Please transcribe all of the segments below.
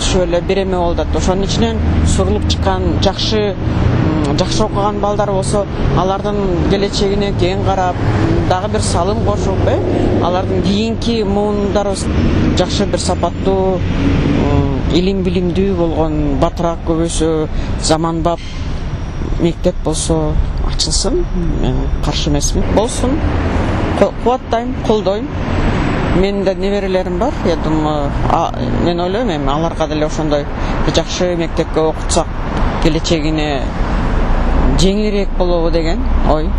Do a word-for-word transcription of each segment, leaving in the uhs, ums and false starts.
түшүп эле береме болуп атат. Ошонун ичинен сугулуп чыккан жакшы жакшы окуган балдар болсо, алардын келечегине кең карап, дагы бир салым кошуп, э, алардын кийинки муундарыбыз жакшы бир сапаттуу, илим билимдүү болгон, батыраак көбөйсө, заманбап мектеп болсо ачылсын. Мен каршы эмесмин. Болсун. Кубаттайм, колдойм. Менин да неберелерим бар. Я думаю, мен ойлойм, эми аларга деле ошондой жакшы мектепке окутсак, келечегине жеңилирээк болобу деген ой.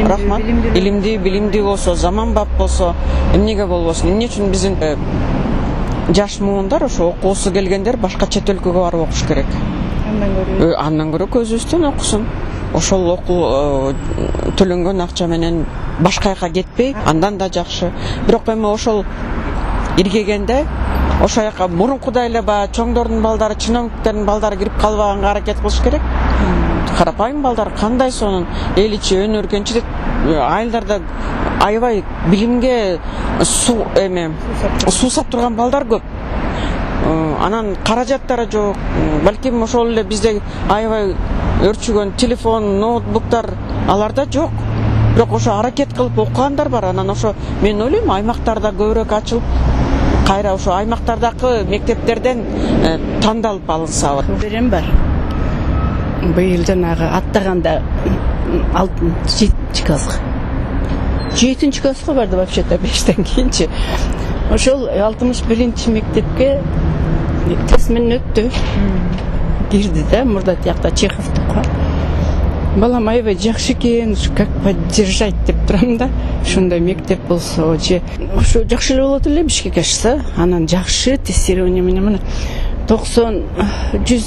Рахмат. Илимдүү, билимдүү болсо, заманбап болсо, эмнеге болбосун? Эмне үчүн биздин жаш муундар, ошо окуусу келгендер башка чет өлкөгө барып окуш керек? Андан көрө. Андан көрө көзүбүздөн окусун. Ошол окуу төлөнгөн акча менен башка жака кетпей, андан да жакшы. Бирок эми ошол иргегенде ошол жака мурункудай эле баягы чоңдордун балдары, чиновниктердин балдары кирип калбаганга аракет кылыш керек. Карапайым балдар кандай сонун эл ичи өнөргөнчү деп айылдарда аябай билимге суу эме суусап турган балдар көп. Анан каражаттары жок. Балким ошол эле бизде аябай өрчүгөн телефон, ноутбуктар аларда жок. Бирок ошо аракет кылып окугандар бар. Анан ошо мен ойлойм, аймактарда көбүрөөк ачылып, кайра ошо аймактардагы мектептерден тандалып алынса. Берем бар. Быйыл жанагы аттаганда жетинчи класска. жетинчи класска барды вообще-то бештен кийинчи. Ошол алтымыш биринчи мектепке тест менен өттү. Кирди да, мурда тиякта Чеховдукка. Балам аябай жакшы экен, как поддержать деп турам да. Ошондой мектеп болсо, же ошо жакшы эле болот эле Бишкекке ашса, анан жакшы тестирование менен мына токсон жүз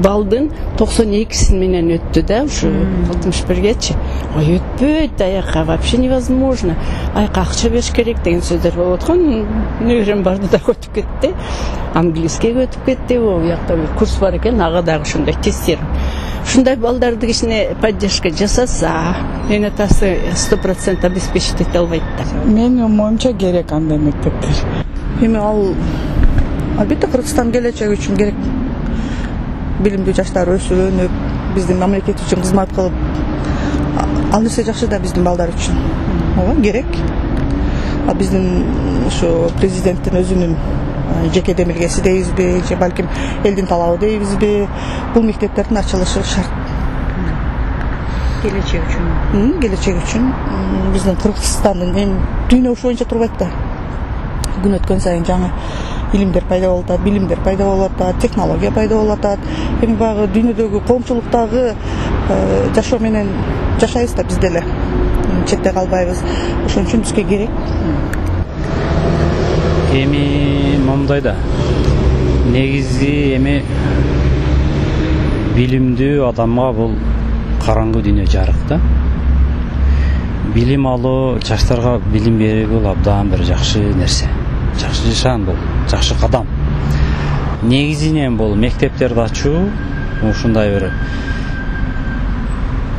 балдын токсон экисин менен өттү да, ушу алтымыш биргечи. Ой, өтпөйт аяка, вообще невозможно. Аяка акча бериш керек деген сөздөр болуп аткан. Неберем барды да өтүп кетти. Английскийге өтүп кетти. О, якта бир курс бар экен, ага дагы ошондой тестирование. Ушундай балдарды кичине поддержка жасаса, мен атасы сто процент обеспечить эте албайт да. Менин моюмча керек андай мектептер. Эми ал албетте Кыргызстан келечеги үчүн керек. Билимдүү жаштар өсүп, өнүп, биздин мамлекет үчүн кызмат кылып, ал нерсе жакшы да биздин балдар үчүн. Ооба, керек. А биздин ошо президенттин өзүнүн жеке демилгеси дейбизби, же балким элдин талабы дейбизби, бул мектептердин ачылышы шарт. Келечек үчүн. Келечек үчүн биздин Кыргызстандын эми дүйнө ошо боюнча турбайт да. Күн өткөн сайын жаңы илимдер пайда болуп атат, билимдер пайда болуп атат, технология пайда болуп атат. Эми баягы дүйнөдөгү коомчулуктагы жашоо менен жашайбыз да биз деле. Четте калбайбыз. Ошон үчүн бизге керек. Эми момундай да. Негизи эми билимдүү адамга бул караңгы дүйнө жарык да. Билим алуу, жаштарга билим берүү бул абдан бир жакшы нерсе. Жакшы нишан бул, жакшы кадам. Негизинен бул мектептерди ачуу ушундай бир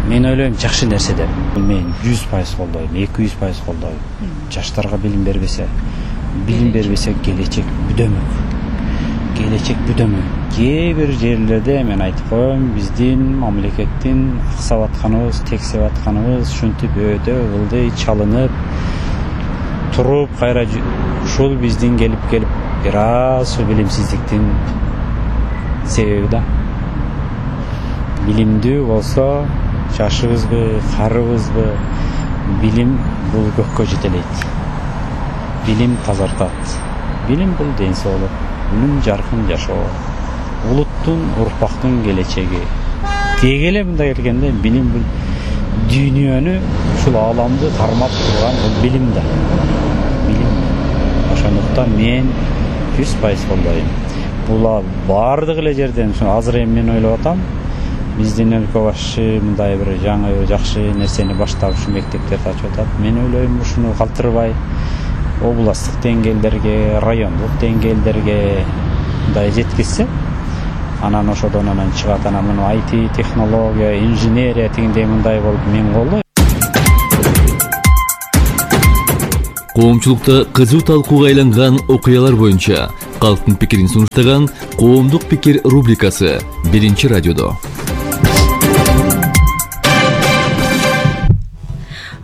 мен ойлойм жакшы нерсе деп. Мен жүз пайыз колдойм, эки жүз пайыз колдойм. Жаштарга билим бербесе, билим бербесе келечек бүдөмөк. Келечек бүдөмөк. Кээ бир жерлерде мен айтып коем, биздин мамлекеттин аксап атканыбыз, тексеп атканыбыз ушинтип өтө ылдый чалынып туруп, кайра ушул биздин келип келип бир аз билимсиздиктин себеби да. Билимдүү болсо, жашыбызбы, карыбызбы, билим бул көккө жетелейт. Билим тазартат. Билим бул ден соолук, билим жаркын жашоо. Улуттун, урпактын келечеги. Деги эле мындай келгенде билим бул дүйнөнү, ушул ааламды кармап турган бул билим да. Билим. Ошондуктан мен жүз пайыз колдойм. Бул бардык эле жерден азыр эми мен ойлоп атам. Биздин өлкө башчы мындай бир жаңы жакшы нерсени баштап ушу мектептерди ачып атат. Мен ойлойм ушуну калтырбай областтык деңгээлдерге, райондук деңгээлдерге мындай жеткизсе, анан ошодон анан чыгат анан муну ай ти, технология, инженерия тигиндей мындай болуп мен колдойм. Коомчулукта кызуу талкууга айланган окуялар боюнча Калктын пикирин сунуштаган Коомдук пикир рубрикасы биринчи радиодо.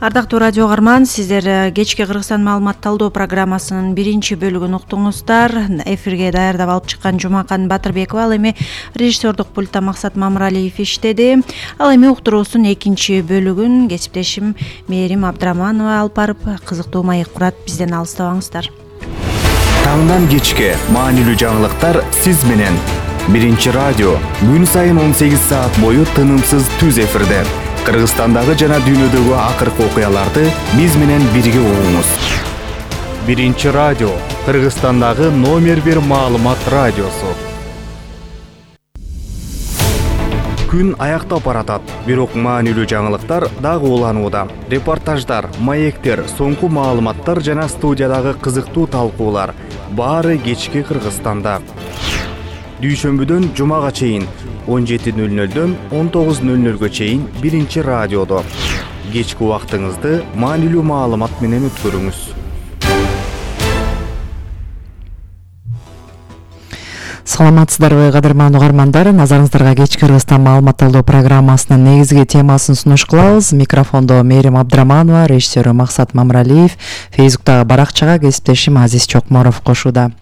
Ардактуу радио угарман, сиздер кечки Кыргызстан маалымат талдоо программасынын биринчи бөлүгүн уктуңуздар. Эфирге даярдап алып чыккан Жумакан Батырбекова, ал эми режиссердук пультта Максат Мамыралиев иштеди. Ал эми уктуруусун экинчи бөлүгүн кесиптешим Мээрим Абдыраманова алып барып кызыктуу маек курат. Бизден алыстабаңыздар. Таңдан кечке маанилүү жаңылыктар сиз менен. Биринчи радио күн сайын он сегиз саат бою тынымсыз түз эфирде. Кыргызстандагы жана дүйнөдөгү акыркы окуяларды биз менен бирге угуңуз. Биринчи радио Кыргызстандагы номер бир маалымат радиосу. Күн аяктап баратат, бирок маанилүү жаңылыктар дагы уланууда. Репортаждар, маектер, соңку маалыматтар жана студиядагы кызыктуу талкуулар баары кечки Кыргызстанда. Дүйшөмбүдөн жумага чейин он жети нөл нөлдөн он тогуз нөл нөлгө чейин биринчи радиодо. Кечки убактыңызды маанилүү маалымат менен өткөрүңүз. Саламатсыздарбы, кадырман угармандар. Назарыңыздарга кечки Кыргызстан маалымат талдоо программасынын негизги темасын сунуш кылабыз. Микрофондо Мээрим Абдыраманова, режиссеру Максат Мамыралиев, Фейсбуктагы баракчага кесиптешим Азиз Чокморов кошууда.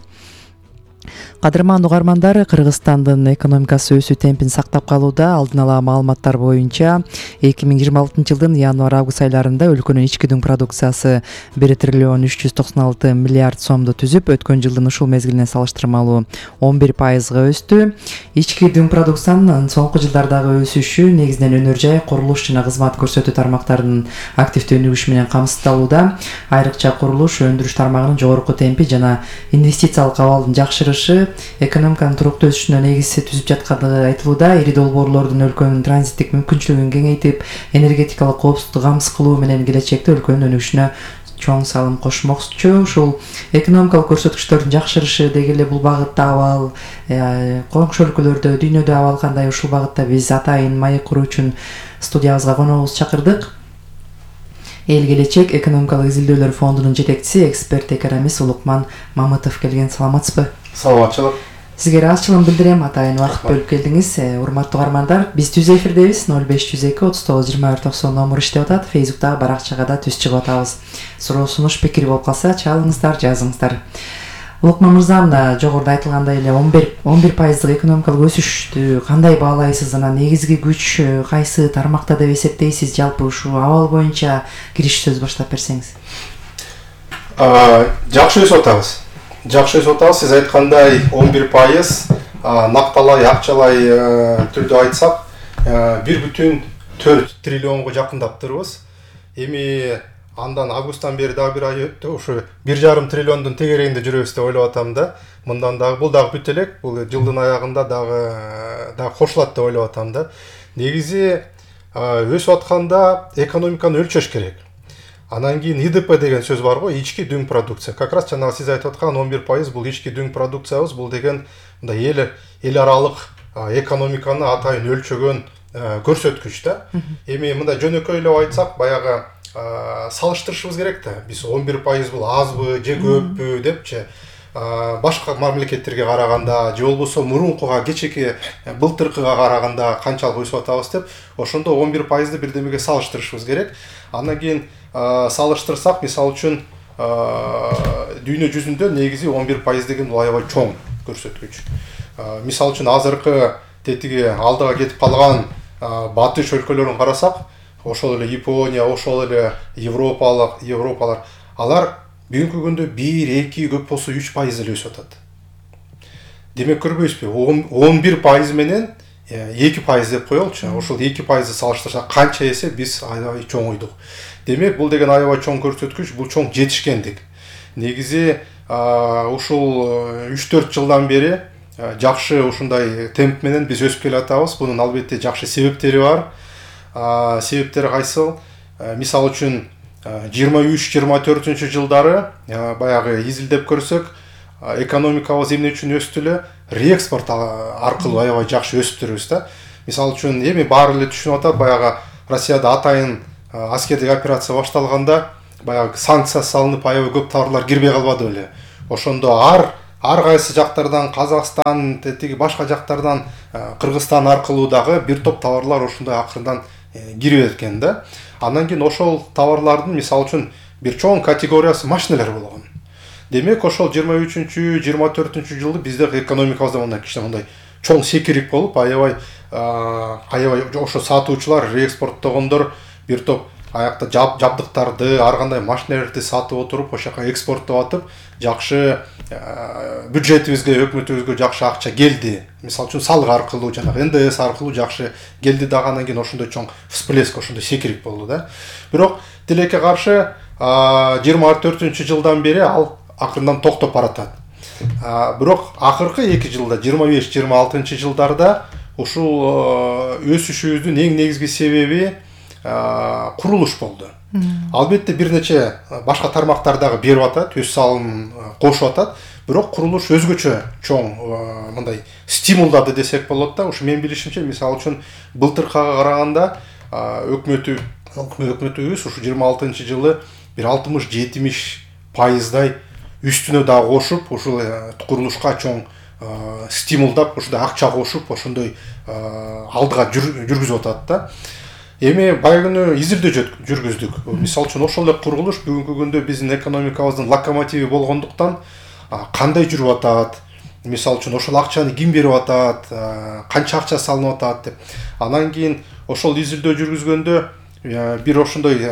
Кадырман угармандар, Кыргызстандын экономикасы өсүү темпин сактап калууда. Алдын ала маалыматтар боюнча эки миң жыйырма алтынчы жылдын январь-август айларында өлкөнүн ички дүң продукциясы бир триллион үч жүз токсон алты миллиард сомду түзүп, өткөн жылдын ушул мезгилине салыштырмалуу он бир пайызга өстү. Ички дүң продукциянын соңку жылдардагы өсүшү негизинен өнөр жай, курулуш жана кызмат көрсөтүү тармактарынын активдүү өнүгүшү менен камсыздалууда. Айрыкча курулуш, өндүрүш тармагынын жогорку темпи жана инвестициялык абалдын жакшырышы экономиканын туруктуу өсүшүнө негиз түзүп жаткандыгы айтылууда. Ири долбоорлордун өлкөнүн транзиттик мүмкүнчүлүгүн кеңейтип, энергетикалык коопсуздукту камсыз кылуу менен келечекте өлкөнүн өнүгүшүнө чоң салым кошмокчу. Ушул экономикалык көрсөткүчтөрдүн жакшырышы деги эле бул багытта абал коңшу өлкөлөрдө, дүйнөдө абал кандай, ушул багытта биз атайын маек куруу үчүн студиябызга коногубузду чакырдык. Эл келечек экономикалык изилдөөлөр фондунун жетекчиси, эксперт экономист Улукман Мамытов келген. Саламатсызбы? Саламатчылык. Сизге ыраазычылыгын билдирем, атайын убакыт бөлүп келдиңиз. Урматтуу угармандар, биз түз эфирдебиз. ноль беш жүз эки отуз тогуз жыйырма бир токсон номер иштеп атат. Фейсбуктагы баракчага да түз чыгып атабыз. Суроо, сунуш, пикир болуп калса, чалыңыздар, жазыңыздар. Улукман мырза, мына жогоруда айтылгандай эле он бир пайыздык экономикалык өсүштү кандай баалайсыз? Анан негизги күч кайсы тармакта деп эсептейсиз? Жалпы ушул абал боюнча кириш сөз баштап берсеңиз. Жакшы өсүп атабыз. Жакшы өсүп атабыз. Сиз айткандай он бир пайыз накталай, акчалай түрдө айтсак, бир бүтүн төрт триллионго жакындаптырбыз. Эми андан августтан бери дагы бир ай өттү. Ушу бир жарым триллиондун тегерегинде жүрөбүз деп ойлоп атам да. Мындан дагы бул дагы бүт элек. Бул жылдын аягында дагы дагы кошулат деп ойлоп атам да. Негизи өсүп атканда экономиканы өлчөш керек. Анан кийин И Д П деген сөз бар го, ички дүң продукция. Как раз жанагы сиз айтып аткан он бир пайыз бул ички дүң продукциябыз. Бул деген мындай эл эл аралык экономиканы атайын өлчөгөн көрсөткүч да. Эми мындай жөнөкөйлөп айтсак, баягы салыштырышыбыз керек да. Биз он бир пайыз бул азбы же көппү депчи башка мамлекеттерге караганда же болбосо мурункуга, кечеки былтыркыга караганда канчалык өсүп атабыз деп, ошондо он бир пайызды бирдемеге салыштырышыбыз керек. Андан кийин салыштырсак, мисалы үчүн дүйнө жүзүндө негизи он бир пайыз деген бул аябай чоң көрсөткүч. Мисалы үчүн азыркы тетиги алдыга кетип калган батыш өлкөлөрүн карасак, ошол эле Япония, ошол эле Европалык, Европалар, алар бүгүнкү күндө бир, эки, көп болсо үч пайыз эле өсүп атат. Демек көрбөйсүзбү? он бир пайыз менен эки пайыз деп коелучу. Ошол эки пайызды салыштырсак канча эсе биз аябай чоңойдук. Демек бул деген аябай чоң көрсөткүч, бул чоң жетишкендик. Негизи ушул үч төрт жылдан бери жакшы ушундай темп менен биз өсүп келатабыз. Бунун албетте жакшы себептери бар. Себептери кайсыл? Мисалы үчүн жыйырма үч жыйырма төртүнчү жылдары баягы изилдеп көрсөк, экономикабыз эмне үчүн өстү эле? Реэкспорт аркылуу аябай жакшы өстүрүбүз да. Мисалы үчүн эми баары эле түшүнүп атат, баягы Россияда атайын аскердик операция башталганда баягы санкция салынып, аябай көп товарлар кирбей калбады беле. Ошондо ар ар кайсы жактардан, Казакстан, тиги башка жактардан, Кыргызстан аркылуу дагы бир топ товарлар ошондой акырындан кирип экен да. Андан кийин ошол товарлардын мисалы үчүн бир чоң категориясы машиналар болгон. Демек ошол жыйырма үчүнчү жыйырма төртүнчү жылы биздеги экономикабызда мындай кичине мындай чоң секирик болуп, аябай аябай ошо сатуучулар, реэкспорттогондор бир топ аякта жабдыктарды, ар кандай машиналарды сатып отуруп, ошол жака экспорттоп атып, жакшы бюджетибизге, өкмөтүбүзгө жакшы акча келди. Мисалы үчүн салык аркылуу, жанагы эн дэ эс аркылуу жакшы келди дагы, андан кийин ошондой чоң всплеск, ошондой секирик болду да. Бирок тилекке каршы жыйырма төртүнчү жылдан бери ал акырындан токтоп баратат. Бирок акыркы эки жылда, жыйырма беш жыйырма алтынчы жылдарда ушул өсүшүбүздүн эң негизги себеби курулуш болду. Албетте бир нече башка тармактар дагы берип атат, өз салымын кошуп атат, бирок курулуш өзгөчө чоң мындай стимулдады десек болот да. Ушу менин билишимче, мисалы үчүн былтыркыга караганда өкмөтү өкмөтүбүз ушу жыйырма алтынчы жылы бир алтымыш жетимиш пайыздай үстүнө дагы кошуп, ушул курулушка чоң стимулдап, ушундай акча кошуп, ошондой алдыга жүргүзүп атат да. Эми байгыны изилдөө жүргүздүк. Мисалы үчүн ошол эле курулуш бүгүнкү күндө биздин экономикабыздын локомотиви болгондуктан кандай жүрүп атат, мисалы үчүн ошол акчаны ким берип атат, канча акча салынып атат деп. Андан кийин ошол изилдөө жүргүзгөндө бир ошондой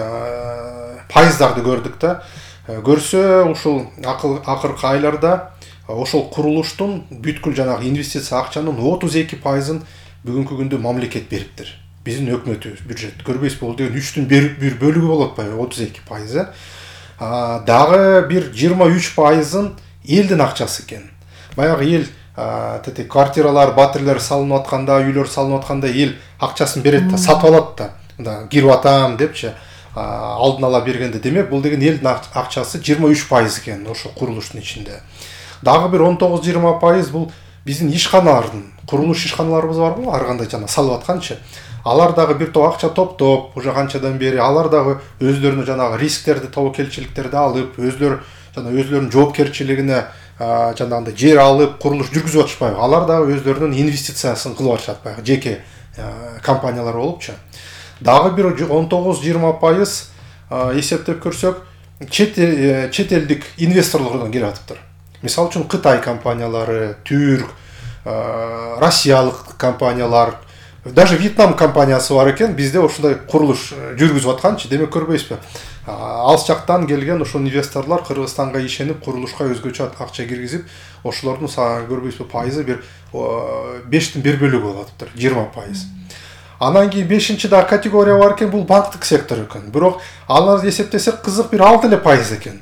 пайыздарды көрдүк да. Көрсө ушул акыркы айларда ошол курулуштун бүткүл жанагы инвестиция акчанын отуз эки пайызын бүгүнкү күндө мамлекет бериптир. Биздин өкмөтүбүз, бюджет. Көрбөйсүз, бул деген үчтүн бир бөлүгү болот атпайбы, отуз эки пайызы. Дагы бир жыйырма үч пайызын элдин акчасы экен. Баягы эл тети квартиралар, батирлер салынып атканда, үйлөр салынып атканда эл акчасын берет да, сатып алат да. Мында кирип атам депчи, алдын ала бергенде, демек бул деген элдин акчасы жыйырма үч пайыз экен ошол курулуштун ичинде. Дагы бир он тогуз жыйырма пайыз бул биздин ишканалардын, курулуш ишканаларыбыз барбы, ар кандай жана салып атканчы. Алар дагы бир топ акча топтоп, уже канчадан бери алар дагы өздөрүнө жанагы рисктерди, тобокелчиликтерди алып, өздөрү жана өздөрүнүн жоопкерчилигине жанагындай жер алып, курулуш жүргүзүп атышпайбы. Алар дагы өздөрүнүн инвестициясын кылып атышат, баягы жеке компаниялар болупчу. Дагы бир он тогуз жыйырма пайыз эсептеп көрсөк, чет элдик инвесторлордон келип атыптыр. Мисалы үчүн Кытай компаниялары, түрк, россиялык компаниялар, даже Вьетнам компаниясы бар экен, бизде ошондой курулуш жүргүзүп атканчы. Демек көрбөйсүзбү? Алыс жактан келген ошол инвесторлор Кыргызстанга ишенип, курулушка өзгөчө акча киргизип, ошолордун көрбөйсүзбү пайызы бир бештин бир бөлүгү болуп атыптыр, жыйырма пайыз. Анан кийин бешинчи да категория бар экен, бул банктык сектор экен. Бирок аларды эсептесек кызык бир алты эле пайыз экен.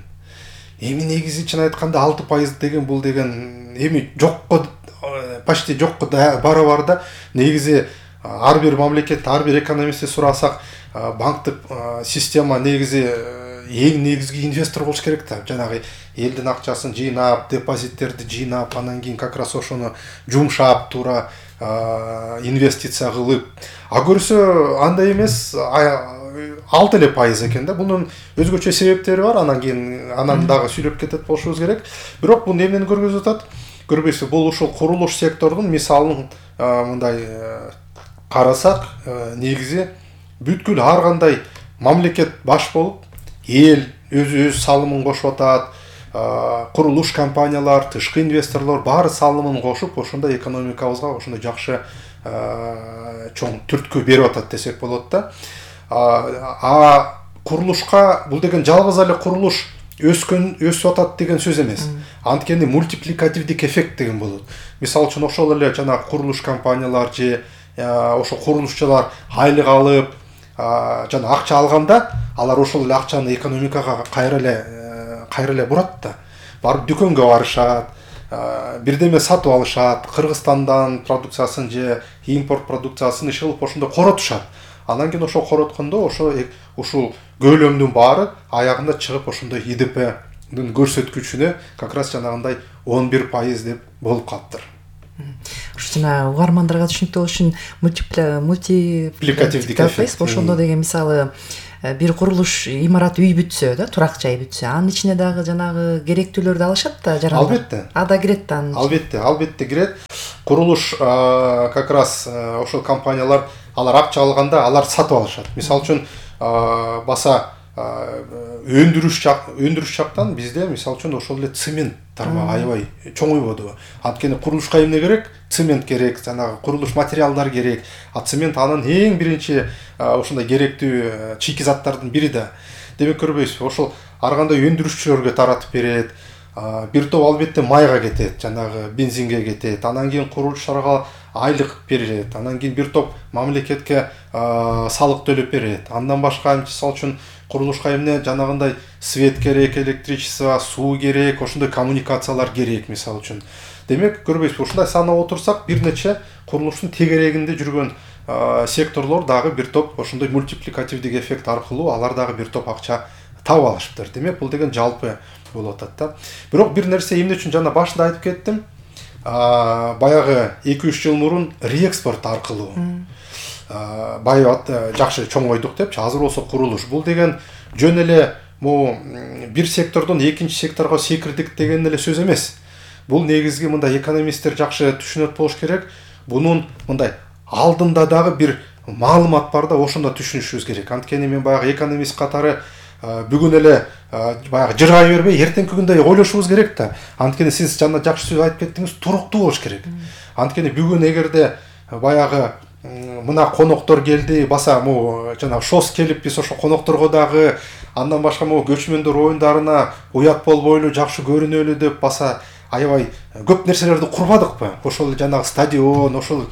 Эми негизи чын айтканда алты пайыз деген бул деген эми жокко почти жокко барабар да. Негизи ар бир мамлекет, ар бир экономистти сурасак, банктык система негизи эң негизги инвестор болуш керек да. Жанагы элдин акчасын жыйнап, депозиттерди жыйнап, анан кийин как раз ошону жумшап, туура инвестиция кылып. А көрсө андай эмес, алты эле пайыз экен да. Бунун өзгөчө себептери бар, анан кийин анан дагы сүйлөп кетет болушубуз керек. Бирок бул эмнени көргөзүп атат? Көрбөйсүз, бул ушул курулуш сектордун мисалын мындай карасак, негизи бүткүл ар кандай мамлекет баш болуп, эл өз-өз салымын кошуп атат, курулуш компаниялар, тышкы инвесторлор баары салымын кошуп, ошондой экономикабызга ошондой жакшы чоң түрткү берип атат десек болот да. А курулушка бул деген жалгыз эле курулуш өскөн өсүп атат деген сөз эмес. Анткени мультипликативдик эффект деген болот. Мисалы үчүн ошол эле жана курулуш компаниялар же ошо курулушчулар айлык алып, жана акча алганда, алар ошол эле акчаны экономикага кайра эле кайра эле бурат да. Барып дүкөнгө барышат, бирдеме сатып алышат, Кыргызстандан продукциясын же импорт продукциясын иши кылып ошондо коротушат. Анан кийин ошол короткондо ошо ушул көлөмдүн баары аягында чыгып ошондой И Д П'нин көрсөткүчүнө как раз жанагындай он бир пайыз деп болуп калыптыр. Ушу жана угармандарга түшүнүктүү болуш үчүн мультипликативдик эффект ошондо деген мисалы бир курулуш имарат үй бүтсө да, турак жай бүтсө, анын ичине дагы жанагы керектүүлөрдү алышат да жарандар. Албетте. Ада кирет да анын. Албетте, албетте кирет. Курулуш как раз ошол компаниялар алар акча алганда алар сатып алышат. Мисалы үчүн баса өндүрүш өндүрүш жактан бизде мисалы үчүн ошол эле цемент тармагы аябай чоңойбоду. Анткени курулушка эмне керек? Цемент керек, жанагы курулуш материалдар керек. А цемент анын эң биринчи ошондой керектүү чийки заттардын бири да. Демек көрбөйсүзбү? Ошол ар кандай өндүрүшчүлөргө таратып берет. Бир топ албетте майга кетет, жанагы бензинге кетет. Анан кийин курулушчуларга айлык берилет. Анан кийин бир топ мамлекетке салык төлөп берет. Андан башка мисалы үчүн курулушка эмне жанагындай свет керек, электричество, суу керек, ошондой коммуникациялар керек мисалы үчүн. Демек көрбөйсүзбү? Ушундай санап отурсак, бир нече курулуштун тегерегинде жүргөн секторлор дагы бир топ ошондой мультипликативдик эффект аркылуу алар дагы бир топ акча таап алышыптыр. Демек бул деген жалпы болуп атат да. Бирок бир нерсе эмне үчүн жана башында айтып кеттим. Баягы эки үч жыл мурун реэкспорт аркылуу байып жакшы чоңойдук депчи. Азыр болсо курулуш. Бул деген жөн эле могу бир сектордон экинчи секторго секирдик деген эле сөз эмес. Бул негизги мындай экономисттер жакшы түшүнөт болуш керек. Бунун мындай алдында дагы бир маалымат бар да, ошондо түшүнүшүбүз керек. Анткени мен баягы экономист катары бүгүн эле баягы жыргай бербей, эртеңки күндө ойлошубуз керек да. Анткени сиз жана жакшы сөз айтып кеттиңиз, туруктуу болуш керек. Анткени бүгүн эгерде баягы мына коноктор келди, баса могу жана шос келип биз ошо конокторго дагы андан башка могу көчмөндөр оюндарына уят болбойлу, жакшы көрүнөлү деп баса аябай көп нерселерди курбадыкпы? Ошол жанагы стадион, ошол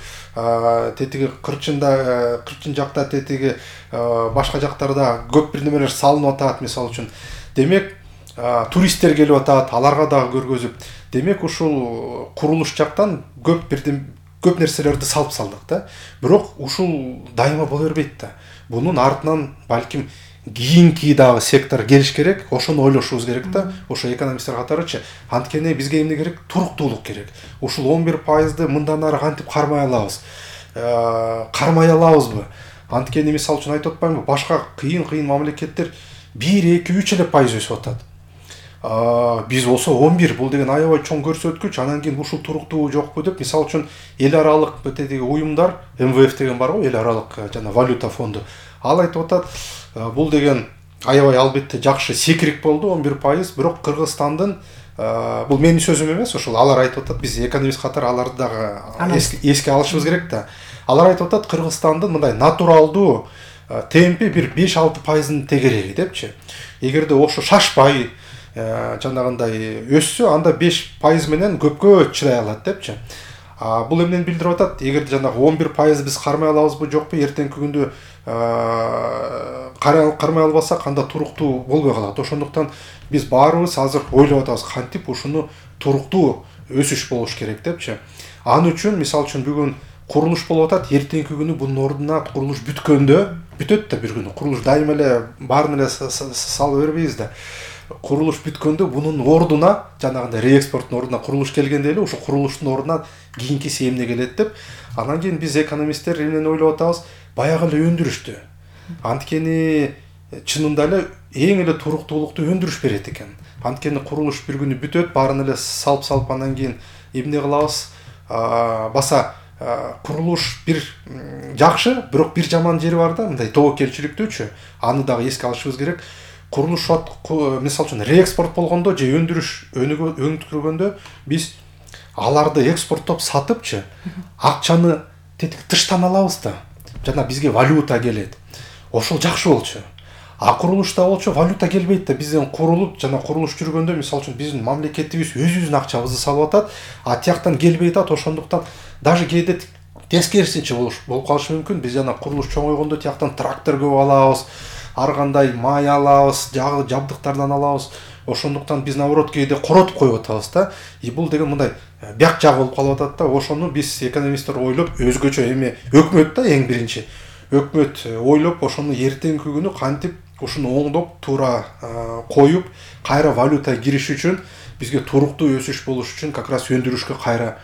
тетиги кырчында, кырчын жакта тетиги башка жактарда көп бир немелер салынып атат мисалы үчүн. Демек туристтер келип атат, аларга дагы көргөзүп. Демек ушул курулуш жактан көп бир көп нерселерди салып салдык да. Бирок ушул дайыма боло бербейт да. Бунун артынан балким кийинки дагы сектор келиш керек, ошону ойлошубуз керек да. Ошо экономисттер катарычы. Анткени бизге эмне керек? Туруктуулук керек. Ушул он бир пайызды мындан ары кантип кармай алабыз? Кармай алабызбы? Анткени мисалы үчүн айтып атпаймынбы? Башка кыйын-кыйын мамлекеттер бир, эки, үч эле пайыз өсүп атат. Биз болсо он бир, бул деген аябай чоң көрсөткүч. Анан кийин ушул туруктуу жокпу деп, мисалы үчүн эл аралык тетиги уюмдар, эм вэ эф деген бар го, эл аралык жана валюта фонду. Ал айтып атат, бул деген аябай албетте жакшы секирик болду он бир пайыз, бирок Кыргызстандын, бул менин сөзүм эмес, ошол алар айтып атат, биз экономист катары аларды дагы эске алышыбыз керек да. Алар айтып атат, Кыргызстандын мындай натуралдуу темпи бир беш алты пайыздын тегереги депчи. Эгерде ошо шашпай жанагындай өссө, анда беш пайыз менен көпкө чыдай алат депчи. Бул эмнени билдирип атат? Эгерде жанагы он бир пайыз биз кармай алабызбы, жокпу, эртеңки күндө кармай албасак, анда туруктуу болбой калат. Ошондуктан биз баарыбыз азыр ойлоп атабыз, кантип ушуну туруктуу өсүш болуш керек депчи. Ал үчүн мисалы үчүн бүгүн курулуш болуп атат, эртеңки күнү бунун ордуна курулуш бүткөндө, бүтөт да бир күнү. Курулуш дайыма эле баарын эле салып бербейбиз да. Курулуш бүткөндө бунун ордуна, жанагындай реэкспорттун ордуна курулуш келгенде эле ошо курулуштун ордуна кийинкиси эмне келет деп, анан кийин биз экономисттер эмнени ойлоп атабыз? Баягы эле өндүрүштү. Анткени чынында эле эң эле туруктуулукту өндүрүш берет экен. Анткени курулуш бир күнү бүтөт, баарын эле салып-салып анан кийин эмне кылабыз? Баса курулуш бир жакшы, бирок бир жаман жери бар да, мындай тобокелчиликтүүчү. Аны дагы эске алышыбыз керек. Курулуш мисалы үчүн реэкспорт болгондо же өндүрүш өнүктүргөндө биз аларды экспорттоп сатыпчы акчаны тетик тыштан алабыз да. Жана бизге валюта келет. Ошол жакшы болчу. А курулушта болчу валюта келбейт да. Бизден курулуп жана курулуш жүргөндө мисалы үчүн биздин мамлекетибиз өзүбүздүн акчабызды салып атат, а тияктан келбей атат. Ошондуктан даже кээде тескерисинче болуп калышы мүмкүн. Биз жана курулуш чоңойгондо тияктан трактор көп алабыз, ар кандай май алабыз, жабдыктардан алабыз. Ошондуктан биз наоборот кээде коротуп коюп атабыз да. И бул деген мындай бяк жагы болуп калып атат да. Ошону биз экономисттер ойлоп, өзгөчө эми өкмөт да эң биринчи. Өкмөт ойлоп, ошону эртеңки күнү кантип ушуну оңдоп, туура коюп, кайра валюта кириш үчүн, бизге туруктуу өсүш болуш үчүн как раз өндүрүшкө кайра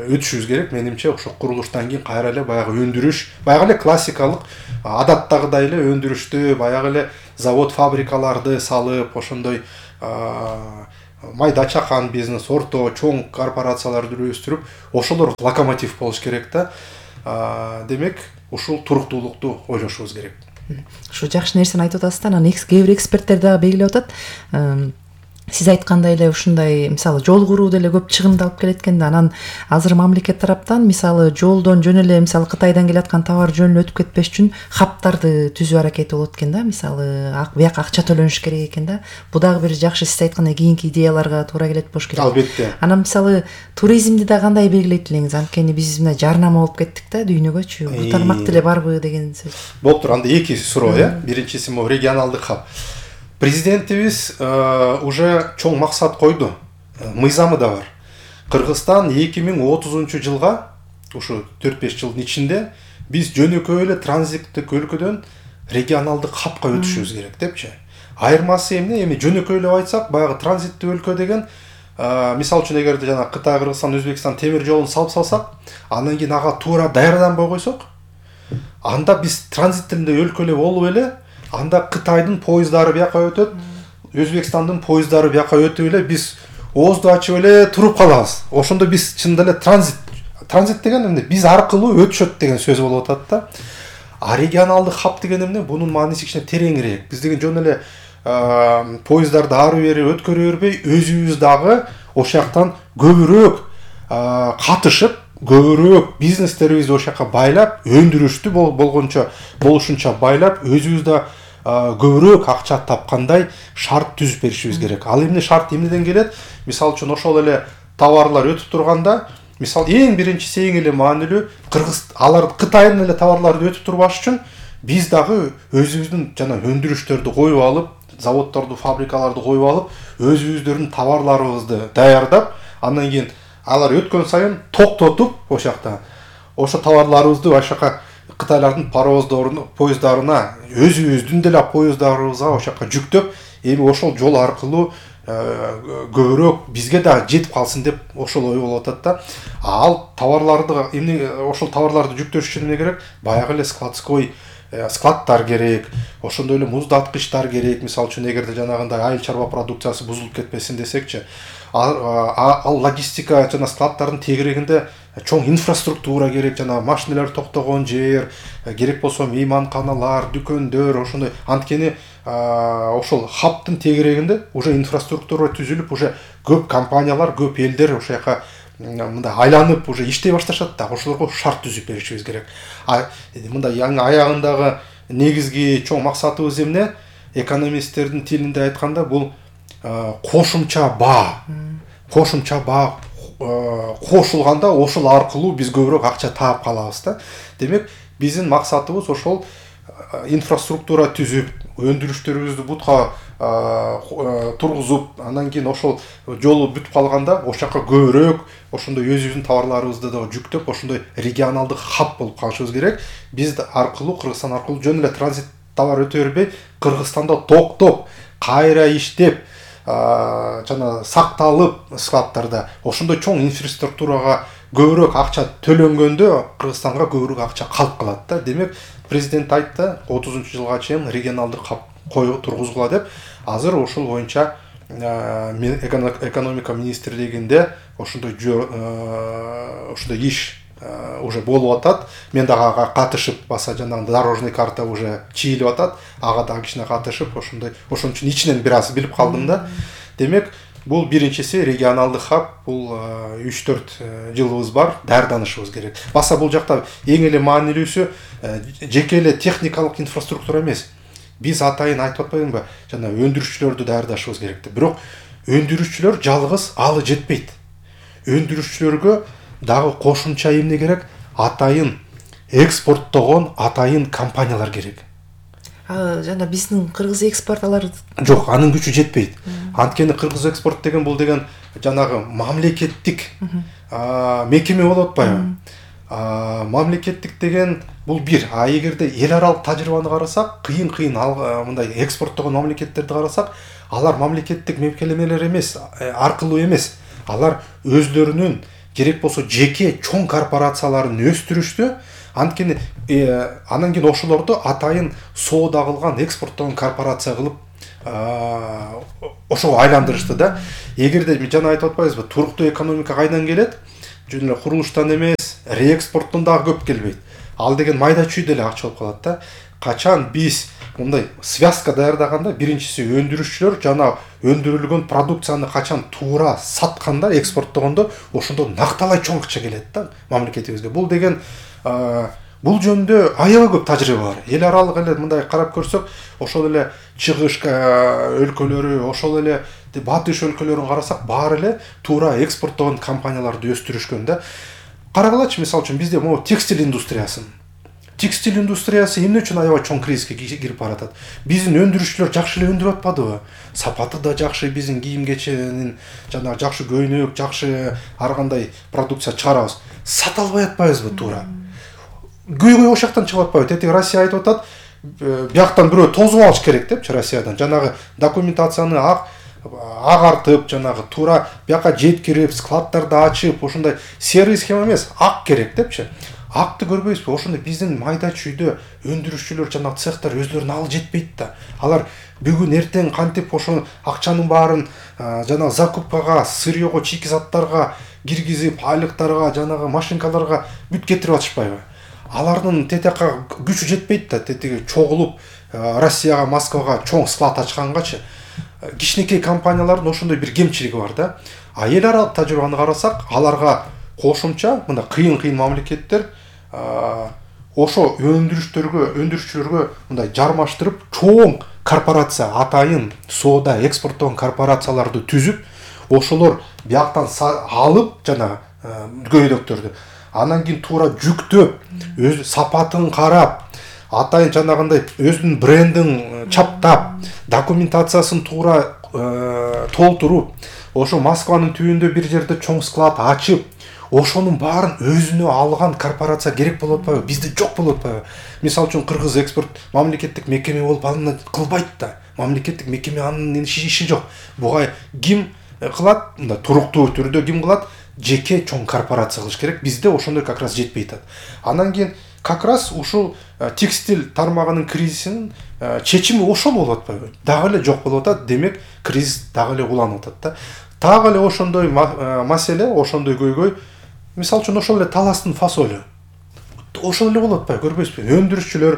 өтүшүбүз керек. Менимче ошо курулуштан кийин кайра эле баягы өндүрүш, баягы эле классикалык адаттагыдай эле өндүрүштү, баягы эле завод фабрикаларды салып, ошондой майда чакан бизнес, орто, чоң корпорацияларды өстүрүп, ошолор локомотив болуш керек да. Демек, ушул туруктуулукту ойлошубуз керек. Ушу жакшы нерсени айтып атасыз да. Анан кээ бир эксперттер дагы белгилеп атат. Сиз айткандай эле ушундай мисалы жол куруу деле көп чыгымды алып келет экен да. Анан азыр мамлекет тараптан мисалы жолдон жөн эле мисалы Кытайдан келаткан товар жөн эле өтүп кетпеш үчүн хаптарды түзүү аракети болот экен да. Мисалы бияка акча төлөнүш керек экен да. Бу дагы бир жакшы, сиз айткандай кийинки идеяларга туура келет болуш керек. Албетте. Анан мисалы туризмди да кандай белгилейт элеңиз? Анткени биз мына жарнама болуп кеттик да дүйнөгөчү. Бул тармак деле барбы деген сөз. Болуптур. Анда эки суроо, э. Биринчиси могу регионалдык хаб. Президентибиз уже чоң максат койду. Мыйзамы да бар. Кыргызстан эки миң отузунчу жылга, ушу төрт беш жылдын ичинде биз жөнөкөй эле транзиттик өлкөдөн регионалдык хабка өтүшүбүз керек депчи. Айырмасы эмне? Эми жөнөкөй эле айтсак, баягы транзиттик өлкө деген, мисалы үчүн эгерде жана Кытай, Кыргызстан, Өзбекстан темир жолун салып салсак, андан кийин ага туура даярданбай койсок, анда биз транзиттик өлкө эле болуп эле, анда Кытайдын поезддары бияка өтөт, Өзбекстандын поезддары бияка өтүп эле, биз оозду ачып эле туруп калабыз. Ошондо биз чынында эле транзит. Транзит деген эмне? Биз аркылуу өтүшөт деген сөз болуп атат да. А регионалдык хаб деген эмне? Бунун мааниси кичине тереңирээк. Биз деген жөн эле поезддарды ары бери өткөрө бербей, өзүбүз дагы ошол жактан көбүрөөк катышып, көбүрөөк бизнестерибизди ошол жака байлап, өндүрүштү болгончо болушунча байлап, өзүбүз да көбүрөөк акча тапкандай шарт түзүп беришибиз керек. Ал эмне шарт эмнеден келет? Мисалы үчүн ошол эле товарлар өтүп турганда, мисал эң биринчиси, эң эле маанилүү, Кыргыз алар Кытайдын эле товарлары өтүп турбаш үчүн биз дагы өзүбүздүн жана өндүрүштөрдү коюп алып, заводдорду, фабрикаларды коюп алып, өзүбүздөрдүн товарларыбызды даярдап, андан кийин алар өткөн сайын токтотуп, ошол жакта ошо товарларыбызды ошол жака Кытайлардын паровоздоруна, поезддарына, өзүбүздүн деле поезддарыбызга ошол жака жүктөп, эми ошол жол аркылуу көбүрөөк бизге да жетип калсын деп ошол ой болуп атат да. Ал товарларды эмне, ошол товарларды жүктөш үчүн эмне керек? Баягы эле складской складтар керек, ошондой эле муздаткычтар керек. Мисалы үчүн эгерде жанагындай айыл чарба продукциясы бузулуп кетпесин десекчи, ал логистика жана складтардын тегерегинде чоң инфраструктура керек, жана машиналар токтогон жер керек, болсо мейманканалар, дүкөндөр, ошондой. Анткени ошол хабтын тегерегинде уже инфраструктура түзүлүп, уже көп компаниялар, көп элдер ошол жака мындай айланып уже иштей башташат да. Ошолорго шарт түзүп беришибиз керек. А мындай аягындагы негизги чоң максатыбыз эмне? Экономисттердин тилинде айтканда, бул кошумча баа. Кошумча баа кошулганда ошол аркылуу биз көбүрөөк акча таап калабыз да. Демек, биздин максатыбыз ошол инфраструктура түзүп, өндүрүштөрүбүздү бутка тургузуп, андан кийин ошол жолу бүтүп калганда ошол жака көбүрөөк ошондой өзүбүздүн товарларыбызды да жүктөп, ошондой регионалдык хаб болуп калышыбыз керек. Биз аркылуу, Кыргызстан аркылуу жөн эле транзит товар өтө бербей, Кыргызстанда токтоп, кайра иштеп, жана сакталып складтарда ошондой чоң инфраструктурага көбүрөөк акча төлөнгөндө Кыргызстанга көбүрөөк акча калып калат да. Демек, президент айтты, отузунчу жылга чейин регионалдык хаб кою тургузгула деп. Азыр ошол боюнча экономика министрлигинде ошондой ошондой иш уже болуп атат. Мен дагы ага катышып, баса жанагы дорожный карта уже чийилип атат. Ага дагы кичине катышып, ошондой ошон үчүн ичинен бир аз билип калдым да. Демек, бул биринчиси регионалдык хаб, бул үч төрт жылыбыз бар, даярданышыбыз керек. Баса бул жакта эң эле маанилүүсү жеке эле техникалык инфраструктура эмес. Биз атайын айтып атпайбызбы, жана өндүрүшчүлөрдү даярдашыбыз керек. Бирок өндүрүшчүлөр жалгыз алы жетпейт. Өндүрүшчүлөргө дагы кошумча эмне керек? Атайын экспорттогон атайын компаниялар керек. А жана биздин кыргыз экспорт алар жок, анын күчү жетпейт. Анткени кыргыз экспорт деген бул деген жанагы мамлекеттик мекеме болуп атпайбы? Мамлекеттик деген бул бир. А эгерде эл аралык тажрыйбаны карасак, кыйын-кыйын мындай экспорттогон мамлекеттерди карасак, алар мамлекеттик мекемелер эмес, аркылуу эмес. Алар өзлөрүнүн керек болсо жеке чоң корпорацияларын өстүрүштү. Анткени анан кийин ошолорду атайын соода кылган, экспорттогон корпорация кылып ошого айландырышты да. Эгерде жана айтып атпайбызбы, туруктуу экономика кайдан келет? Жөн эле курулуштан эмес, реэкспорттон дагы көп келбейт. Ал деген майда чүй деле акча болуп калат да. Качан биз мындай связка даярдаганда, биринчиси өндүрүүчүлөр жана өндүрүлгөн продукцияны качан туура сатканда, экспорттогондо, ошондо накталай чоң акча келет да мамлекетибизге. Бул деген бул жөнүндө аябай көп тажрыйба бар. Эл аралык эле мындай карап көрсөк, ошол эле чыгыш өлкөлөрү, ошол эле батыш өлкөлөрүн карасак, баары эле туура экспорттогон компанияларды өстүрүшкөн да. Карагылачы, мисалы үчүн бизде могу текстиль индустриясын. Текстиль индустриясы эмне үчүн аябай чоң кризиске кирип баратат? Биздин өндүрүүчүлөр жакшы эле өндүрүп атпадыбы? Сапаты да жакшы, биздин кийим кеченин жана жакшы көйнөк, жакшы ар кандай продукция чыгарабыз. Сата албай атпайбызбы туура? Көйгөй ошол жактан чыгып атпайбы? Тетиги Россия айтып атат, бияктан бирөө тозуп алыш керек депчи, Россиядан. Жанагы документацияны ак агартып, жанагы туура бияка жеткирип, складдарды ачып, ошондой серый схема эмес, ак керек депчи. Акты көрбөйсүзбү? Ошондой биздин майда чүйдө өндүрүүчүлөр жана цехтар өзлөрүнө ал жетпейт да. Алар бүгүн эртең кантип ошо акчанын баарын жана закупкага, сырьего, чийки заттарга киргизип, айлыктарга, жанагы машинкаларга бүт кетирип атышпайбы? Алардын тетиякка күчү жетпейт да, тетиги чогулуп Россияга, Москвага чоң склад ачкангачы. Кичинекей компаниялардын ошондой бир кемчилиги бар да. А эл аралык тажрыйбаны карасак, аларга кошумча мындай кыйын-кыйын мамлекеттер ошо өндүрүштөргө, өндүрүүчүлөргө мындай жармаштырып, чоң корпорация, атайын соода, экспорттогон корпорацияларды түзүп, ошолор бияктан алып жана көйнөктөрдү, анан кийин туура жүктөп, өз сапатын карап, атайын жанагындай өзүнүн брендин чаптап, документациясын туура толтуруп, ошо Москванын түбүндө бир жерде чоң склад ачып, ошонун баарын өзүнө алган корпорация керек болуп атпайбы? Бизде жок болуп атпайбы? Мисалы үчүн Кыргыз экспорт мамлекеттик мекеме болуп алынат кылбайт да. Мамлекеттик мекеме анын иши жок. Буга ким кылат? Мындай туруктуу түрдө ким кылат? Жеке чоң корпорация кылыш керек. Бизде ошондой как раз жетпей атат. Анан кийин как раз ушул текстиль тармагынын кризисинин чечими ошол болуп атпайбы? Дагы эле жок болуп атат. Демек, кризис дагы эле уланып атат да. Дагы эле ошондой маселе, ошондой көйгөй. Мисалы үчүн ошол эле таластын фасолу. Ошол эле болуп атпайбы, көрбөйсүзбү? Өндүрүүчүлөр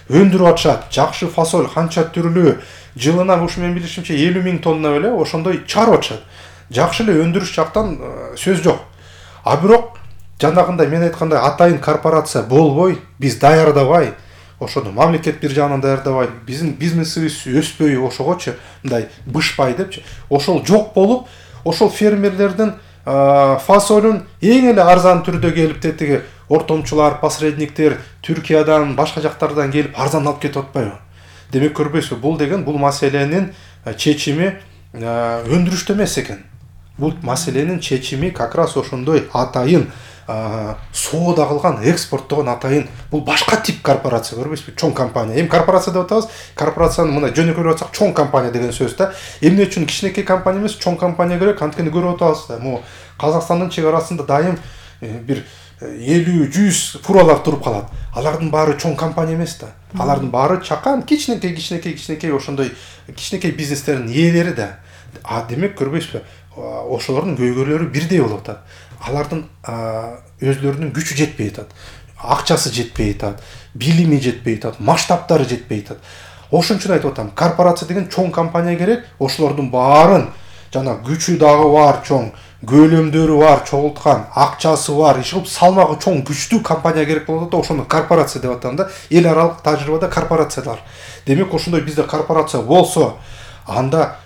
өндүрүп атышат, жакшы фасоль канча түрлүү, жылына ушу менин билишимче элүү миң тонна эле ошондой чыгарып атышат. Жакшы эле өндүрүш жактан сөз жок. А бирок жанагындай мен айткандай атайын корпорация болбой, биз даярдабай, ошону мамлекет бир жагынан даярдабай, биздин бизнесибиз өспөй ошогочу, мындай бышпай депчи. Ошол жок болуп, ошол фермерлердин фасолун эң эле арзан түрдө келип тетиги ортомчулар, посредниктер Түркиядан, башка жактардан келип арзан алып кетип атпайбы? Демек, көрбөйсүзбү, бул деген бул маселенин чечими өндүрүштө эмес экен. Бул маселенин чечими как раз ошондой атайын соода кылган, экспорттогон атайын, бул башка тип корпорация, көрбөйсүзбү? Чоң компания. Эми корпорация деп атабыз, корпорацияны мындай жөнөкөйлөп атсак, чоң компания деген сөз да. Эмне үчүн кичинекей компания эмес, чоң компания керек? Анткени көрүп атабыз да, могу Казакстандын чек арасында дайым бир элүү жүз фуралар туруп калат. Алардын баары чоң компания эмес да. Алардын баары чакан, кичинекей, кичинекей, кичинекей ошондой кичинекей бизнестердин ээлери да. А демек, көрбөйсүзбү? Ошолордун көйгөйлөрү бирдей болуп атат. Алардын өзлөрүнүн күчү жетпей атат, акчасы жетпей атат, билими жетпей атат, масштабтары жетпей атат. Ошон үчүн айтып атам, корпорация деген чоң компания керек. Ошолордун баарын жана күчү дагы бар, чоң көлөмдөрү бар, чогулткан, акчасы бар, иш кылып салмагы чоң, күчтүү компания керек болот да, ошону корпорация деп атам да. Эл аралык тажрыйбада корпорациялар. Демек, ошондой бизде корпорация болсо, анда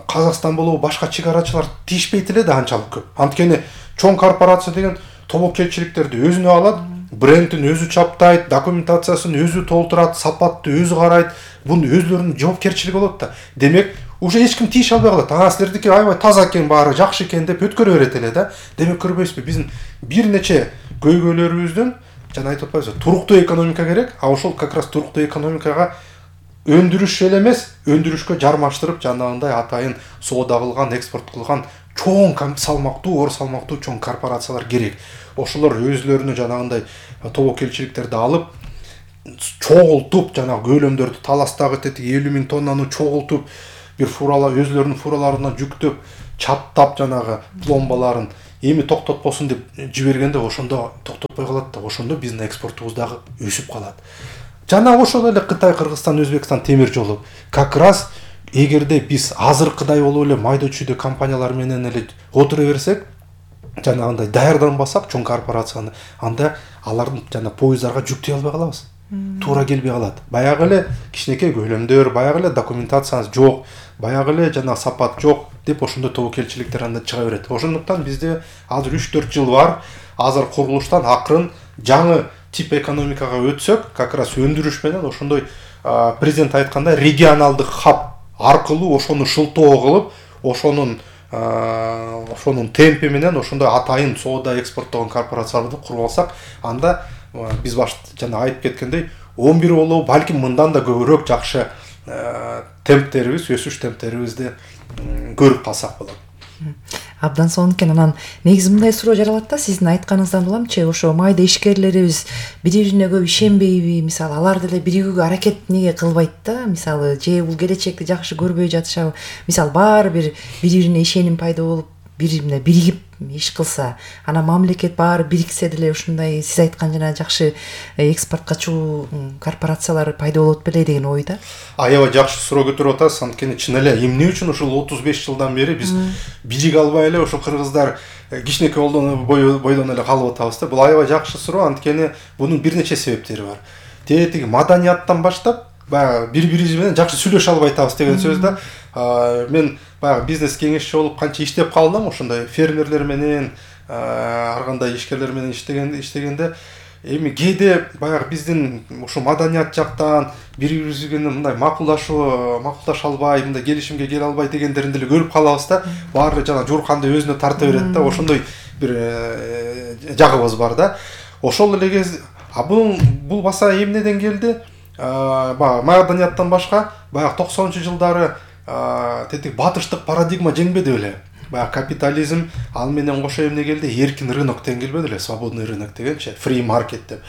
Казакстан болобу башка чек арачылар тийишпейт эле да анчалык көп. Анткени чоң корпорация деген тобокелчиликтерди өзүнө алат, брендин өзү чаптайт, документациясын өзү толтурат, сапатты өзү карайт. Бунун өзлөрүнүн жоопкерчилиги болот да. Демек, уже эч ким тийише албай калат. Ага, силердики аябай таза экен, баары жакшы экен деп өткөрө берет эле да. Демек, көрбөйсүзбү, биздин бир нече көйгөйлөрүбүздүн жана айтып атпайбызбы, туруктуу экономика керек. А ошол как раз туруктуу экономикага өндүрүш эле эмес, өндүрүшкө жармаштырып, жанагындай атайын соода кылган, экспорт кылган чоң салмактуу оор салмактуу чоң корпорациялар керек. Ошолор өзлөрүнө жанагындай тобокелчиликтерди алып чогултуп жанагы көлөмдөрдү таластагы тетиги элүү миң тоннаны чогултуп бир фуралар өзлөрүнүн фураларына жүктөп чаптап жанагы пломбаларын эми токтотпосун деп жибергенде ошондо токтотпой калат да, ошондо биздин экспортубуз дагы өсүп калат. Жана ошол эле Кытай, Кыргызстан, Өзбекстан темир жолу как раз эгерде биз азыркыдай болуп эле майда чүйдө компаниялар менен эле отура берсек, жанагындай даярданбасак чоң корпорацияны, анда алардын жана поезддарга жүктөй албай калабыз. Туура келбей калат. Баягы эле кичинекей көлөмдөр, баягы эле документацияңыз жок, баягы эле жана сапат жок деп ошондой тобокелчиликтер анда чыга берет. Ошондуктан бизде азыр үч төрт жыл бар. Азыр курулуштан акырын жаңы тип экономикага өтсөк, как раз өндүрүш менен ошондой президент айткандай регионалдык хаб аркылуу ошону шылтоо кылып, ошонун ошонун темпи менен ошондой атайын соода экспорттогон корпорацияларды куруп алсак, анда биз баш жана айтып кеткендей он бир болобу, балким мындан да көбүрөөк жакшы темптерибиз, өсүш темптерибизди көрүп калсак болот. Абдан сонун экен. Анан негизи мындай суроо жаралат да, сиздин айтканыңыздан уламчы, ошо майда ишкерлерибиз бири-бирине көп ишенбейби? Мисалы, алар деле биригүүгө аракет неге кылбайт да? Мисалы, же бул келечекти жакшы көрбөй жатышабы? Мисалы, баары бир бири-бирине ишеним пайда болуп, бири-бирине биригип иш кылса, ана мамлекет баары бириксе деле ушундай сиз айткан жана жакшы экспортко чыгуу корпорациялар пайда болот беле деген ойда. Аябай жакшы суроо көтөрүп атасыз. Анткени чын эле эмне үчүн ушул отуз беш жылдан бери биз бириге албай эле ошо кыргыздар кичинекей бойдон эле калып атабыз да. Бул аябай жакшы суроо. Анткени бунун бир нече себептери бар. Тетиги маданияттан баштап баягы бири-бирибиз менен жакшы сүйлөшө албай атабыз деген сөз да. Мен баягы бизнес кеңешчи болуп канча иштеп калдым, ошондой фермерлер менен, ар кандай ишкерлер менен иштегенде иштегенде эми кээде баягы биздин ушу маданият жактан бири-бирибиз менен мындай макулдашуу, макулдаша албай, мындай келишимге келе албай дегендерин деле көрүп калабыз да. Баары жана журканды өзүнө тарта берет да, ошондой бир жагыбыз бар да. Ошол эле кез, а бул бул баса эмнеден келди? Баягы маданияттан башка баягы токсонунчу жылдары тетиги батыштык парадигма жеңбеди беле. Баягы капитализм ал менен кошо эмне келди? Эркин рынок деген келбеди эле, свободный рынок дегенчи, free market деп.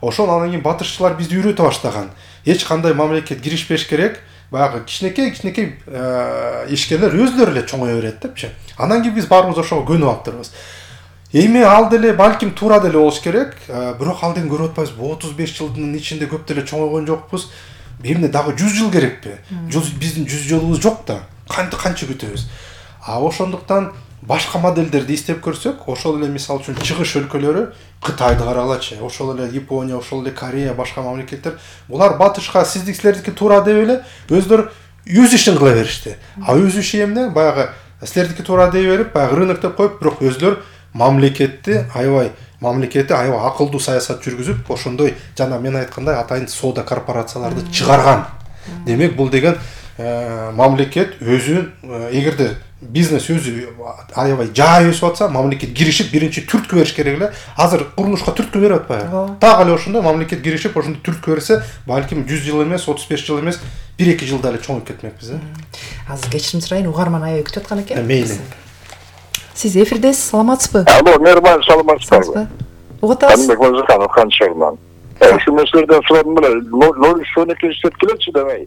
Ошол анан кийин батышчылар бизди үйрөтө баштаган. Эч кандай мамлекет киришпеш керек. Баягы кичинекей кичинекей ишкерлер өзлөрү эле чоңое берет депчи. Анан кийин биз баарыбыз ошого көнүп аптырбыз. Эми ал деле балким туура деле болуш керек, бирок ал деген көрүп атпайбыз. отуз беш жылдын ичинде көп деле чоңойгон жокпуз. Эмне дагы жүз жыл керекпи? Биздин жүз жылыбыз жок да. Канча канча күтөбүз. А ошондуктан башка модельдерди издеп көрсөк, ошол эле мисалы үчүн чыгыш өлкөлөрү Кытайды карагылачы, ошол эле Япония, ошол эле Корея, башка мамлекеттер, булар батышка сиздикилердики туура деп эле өздөрү өз ишин кыла беришти. А өз иши эмне? Баягы силердики туура дей берип, баягы рынок деп коюп, бирок өзлөр мамлекетти аябай мамлекети аябай акылдуу саясат жүргүзүп, ошондой жана мен айткандай атайын соода корпорацияларды чыгарган. Демек, бул деген мамлекет өзү, эгерде бизнес өзү аябай жай өсүп атса, мамлекет киришип биринчи түрткү бериш керек эле. Азыр курулушка түрткү берип атпайбы? Так эле ошондой мамлекет киришип ошондой түрткү берсе, балким жүз жыл эмес, отуз беш жыл эмес, бир эки жылда эле чоңоюп кетмекпиз. Азыр кечирим сурайын, угарман аябай күтүп аткан экен. Мейли. Сиз эфирдесиз, саламатсызбы? Алло, мербан, саламатсызбы? Угуп атасыз? Канбек Мырзаханов, Канчагынан. Ушу нерселерден сурадым беле, ноль сонеки иштеп келечи демей.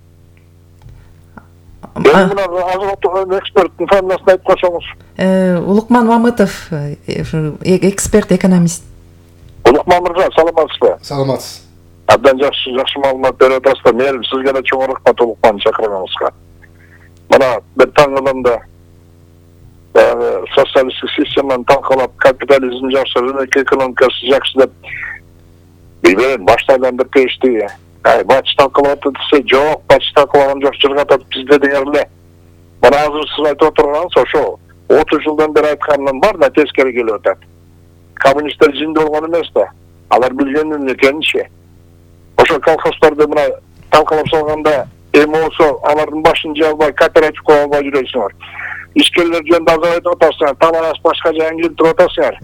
Мен мына азыр эксперттин фамилиясын айтып койсоңуз. Улукман Мамытов, эксперт, экономист. Улукман мырза, саламатсызбы? Саламатсыз. Абдан жакшы, жакшы маалымат берип атасыздар. Мен сизге да чоң рахмат Улукман чакырганыңызга. Мына бир таң каламда социалисттик системаны талкалап, капитализм жакшы, рынок экономикасы жакшы деп билбейм, башта айландырып келишти. Ай, батыш талкалап десе, жок, батыш талкалаган жок, жыргатат бизде деген эле. Мына азыр сиз айтып отурганыңыз ошо отуз жылдан бери айтканынан бар да тескери келип атат. Коммунисттер жинди болгон эмес да. Алар билгендин экенинчи. Ошо колхоздорду мына талкалап салганда эми болсо алардын башын жей албай, кооператив кура албай жүрөсүңөр. Ишкерлер жөнүндө азыр айтып атасыңар, таланас башка жайын келтирип атасыңар.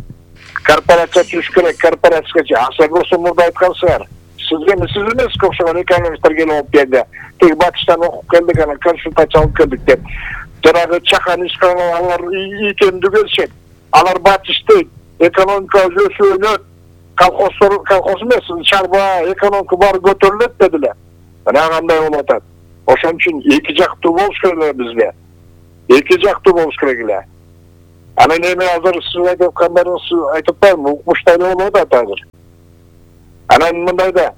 Корпорация түзүш керек, корпорацияга асыр болсо мурда айткансыңар. Сизге сиз эмес окшогон экономисттер келип алып келди. Теги батыштан окуп келдик, анан консультация алып келдик деп. жанагы чакан ишкан алар икемди беришет. Алар батыштайт, экономика өсүп, колхоздор, колхоз эмес, чарба, экономика баары көтөрүлөт дедиле. Мына кандай болуп атат. Ошон үчүн эки жактуу болуш керек бизге. Эки жактуу болуш керек эле. Анан эми азыр сиз айтып аткандарыңыз айтып атпаймынбы, укмуштай болуп атат азыр. Анан мындай да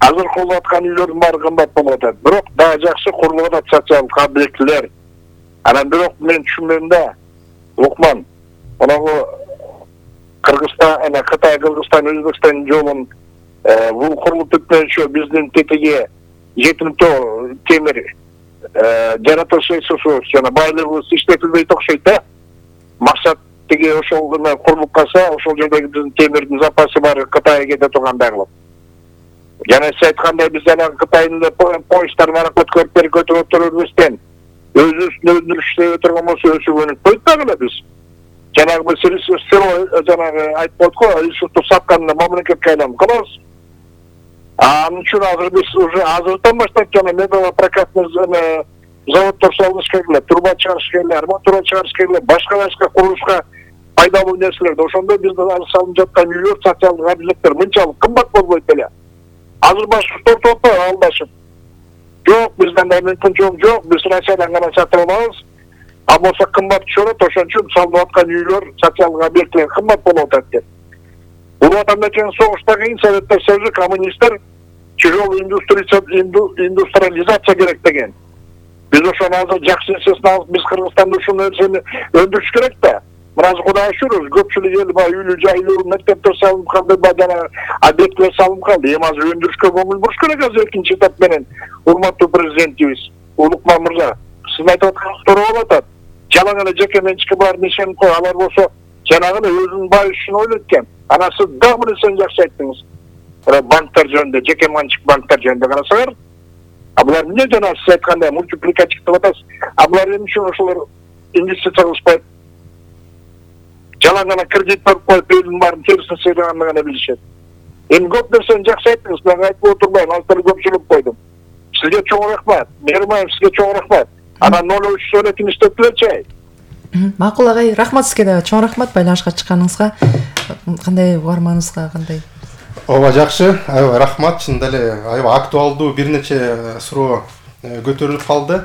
азыр курулуп аткан үйлөрдүн баары кымбат болуп атат. Бирок дагы жакшы курулуп атат социалдык объектилер. Анан бирок мен түшүнбөйм да, Лукман, моногу Кыргызстан, ана Кытай, Кыргызстан, Өзбекстан жолун бул курулуп бүткөнчө биздин тетиги жетимтөө темир жаратылышыбыз жана байлыгыбыз иштетилбейт окшойт да. Максат тиги ошол гана курулуп калса, ошол жердеги биздин темирдин запасы баары Кытайга кете тургандай кылып. Жана сиз айткандай биз жанагы Кытайдын поезддарын аракет көрүп көтөрүп өтөрбөстөн өзүбүздүн өндүрүштө өтөргөн болсо өсүп өнүкпөйт дагы эле биз. Жанагы биз село жанагы айтып койдук го, ресурсту сатканда мамлекетке айланып калабыз. Анын үчүн азыр биз уже азырдан баштап жана металлопрокатный заводдор салыш керек эле, труба чыгарыш керек эле, арматура чыгарыш керек эле, башка башка курулушка пайдалуу нерселерди. Ошондо биздин азыр салынып жаткан үйлөр, социалдык объекттер мынчалык кымбат болбойт эле. Азыр башка тортуп атпайбы алдашып? Жок, бизден да мүмкүнчүлүк жок, биз Россиядан гана сатып алабыз. А болсо кымбат түшөрөт, ошон үчүн салынып аткан үйлөр, социалдык объекттер кымбат болуп атат деп. Бул атамекен согуштан кийин Советтер Союзу коммунисттер чыгыл индустриализация керек деген. Биз ошону азыр жакшы нерсесин алып, биз Кыргызстанда ушул нерсени өндүрүш керек да. Мына Кудайга шүгүр, көпчүлүк эл баа үйлүү жайлуу, мектептер салынып калды, жана объекттер салынып калды. Эми азыр өндүрүшкө көңүл буруш керек азыр экинчи этап менен. Урматтуу президентибиз Улукман мырза, сиз айтып атканыңыз туура болуп атат. Жалаң эле жеке менчикке баарын ишенип кой, алар болсо жанагы өзүнүн бай үчүн ойлойт экен. Анан сиз дагы бир нерсени жакшы айттыңыз. Банктар жөнүндө, жеке менчик банктар жөнүндө карасаңар, а булар эмне жана сиз айткандай мультипликатив деп атасыз. А булар эмне үчүн ошолор инвестиция кылышпайт? Жалаң гана кредит берип коюп, элдин баарын терисин сыйраганды гана билишет. Эми көп нерсени жакшы айттыңыз, мен айтып отурбайм, азыр көпчүлүк койдум. Сизге чоң рахмат. Мермаев сизге чоң рахмат. Анан ноль үч сөөлөтүн иштетилерчи. Макул агай, рахмат сизге да, чоң рахмат байланышка чыкканыңызга. Кандай угарманыбызга кандай? Ооба жакшы, аябай рахмат. Чындап эле аябай актуалдуу бир нече суроо көтөрүлүп калды.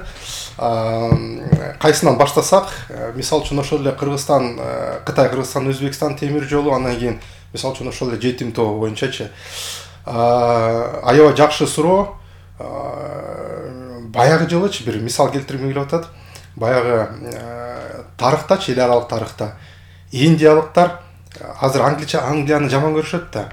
Кайсынан баштасак, мисалы үчүн ошол эле Кыргызстан, Кытай, Кыргызстан, Өзбекстан темир жолу, андан кийин мисалы үчүн ошол эле жетим тоо боюнчачы. Аябай жакшы суроо. Баягы жылычы бир мисал келтиргим келип атат. Баягы тарыхтачы, эл аралык тарыхта индиялыктар азыр англича Англияны жаман көрүшөт да.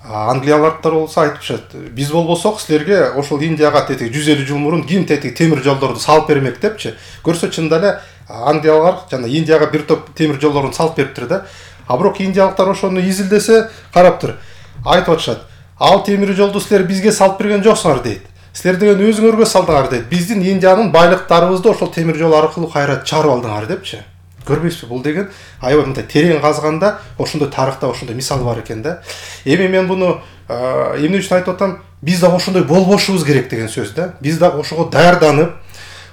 Англиялыктар болсо айтышат, биз болбосок силерге ошол Индияга тетиги жүз элүү жыл мурун ким тетиги темир жолдорду салып бермек депчи. Көрсө чындап эле Англиялар жана Индияга бир топ темир жолдорун салып бериптир да. А бирок индиялыктар ошону изилдесе караптыр. Айтып атышат, ал темир жолду силер бизге салып берген жоксуңар дейт. Силер деген өзүңөргө салдыңар дейт. Биздин Индиянын байлыктарыбызды ошол темир жол аркылуу кайра чарып алдыңар депчи. Көрбөйсүзбү? Бул деген аябай мындай терең казганда ошондой тарыхта ошондой мисал бар экен да. Эми мен буну эмне үчүн айтып атам? Биз да ошондой болбошубуз керек деген сөз да. Биз да ошого даярданып,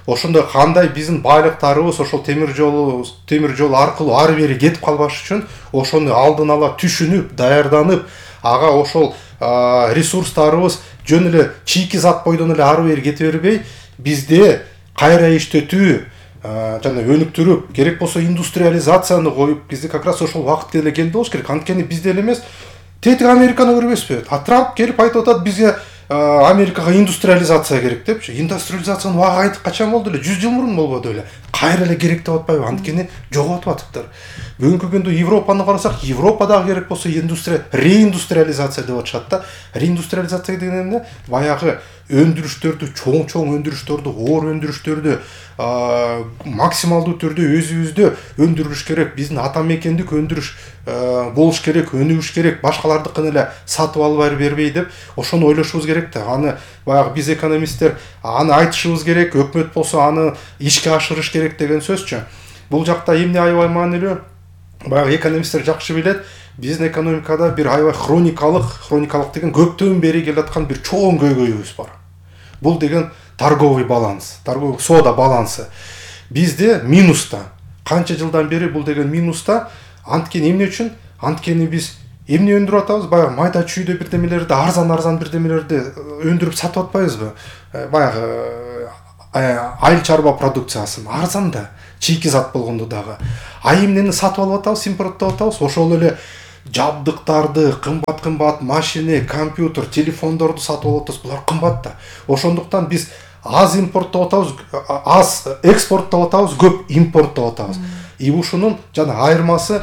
ошондой кандай биздин байлыктарыбыз ошол темир жолу, темир жол аркылуу ары бери кетип калбаш үчүн ошону алдын ала түшүнүп, даярданып, ага ошол ресурстарыбыз жөн эле чийки зат бойдон эле ары бери кете бербей, бизде кайра иштетүү жана өнүктүрүп, керек болсо индустриализацияны коюп, бизде как раз ошол убакыт эле келди болуш керек. Анткени бизде эле эмес, тетиги Американы көрбөйсүзбү? А Трамп келип айтып атат, бизге Америкага индустриализация керек депчи. Индустриализациянын убагы качан болду эле? жүз жыл мурун болбоду эле. Кайра эле керек деп атпайбы? Анткени жоготуп атыптыр. Бүгүнкү күндө Европаны карасак, Европадагы керек болсо индустрия, реиндустриализация деп атышат да. Реиндустриализация деген эмне? Баягы өндүрүштөрдү, чоң-чоң өндүрүштөрдү, оор өндүрүштөрдү максималдуу түрдө өзүбүздө өндүрүш керек. Биздин ата мекендик өндүрүш болуш керек, өнүгүш керек. Башкалардыкын эле сатып алып бербей деп, ошону ойлошубуз керек да. Аны баягы биз экономисттер аны айтышыбыз керек, өкмөт болсо аны ишке ашырыш керек деген сөзчү. Бул жакта эмне аябай маанилүү? Баягы экономисттер жакшы билет. Биздин экономикада бир аябай хроникалык, хроникалык деген көптөн бери келаткан бир чоң көйгөйүбүз бар. Бул деген торговый баланс, торговый соода балансы. бизде минуста. Канча жылдан бери бул деген минуста. Анткени эмне үчүн? Анткени биз эмне өндүрүп атабыз? Баягы майда чүйдө бирдемелерди, арзан-арзан бирдемелерди өндүрүп сатып атпайбызбы? Баягы айыл чарба продукциясын арзан да, чийки зат болгондо дагы. А эмнени сатып алып атабыз, импорттоп атабыз? Ошол эле жабдыктарды, кымбат-кымбат машина, компьютер, телефондорду сатып алып атабыз. Булар кымбат да. Ошондуктан биз аз импорттоп атабыз, аз экспорттоп атабыз, көп импорттоп атабыз. И ушунун жана айырмасы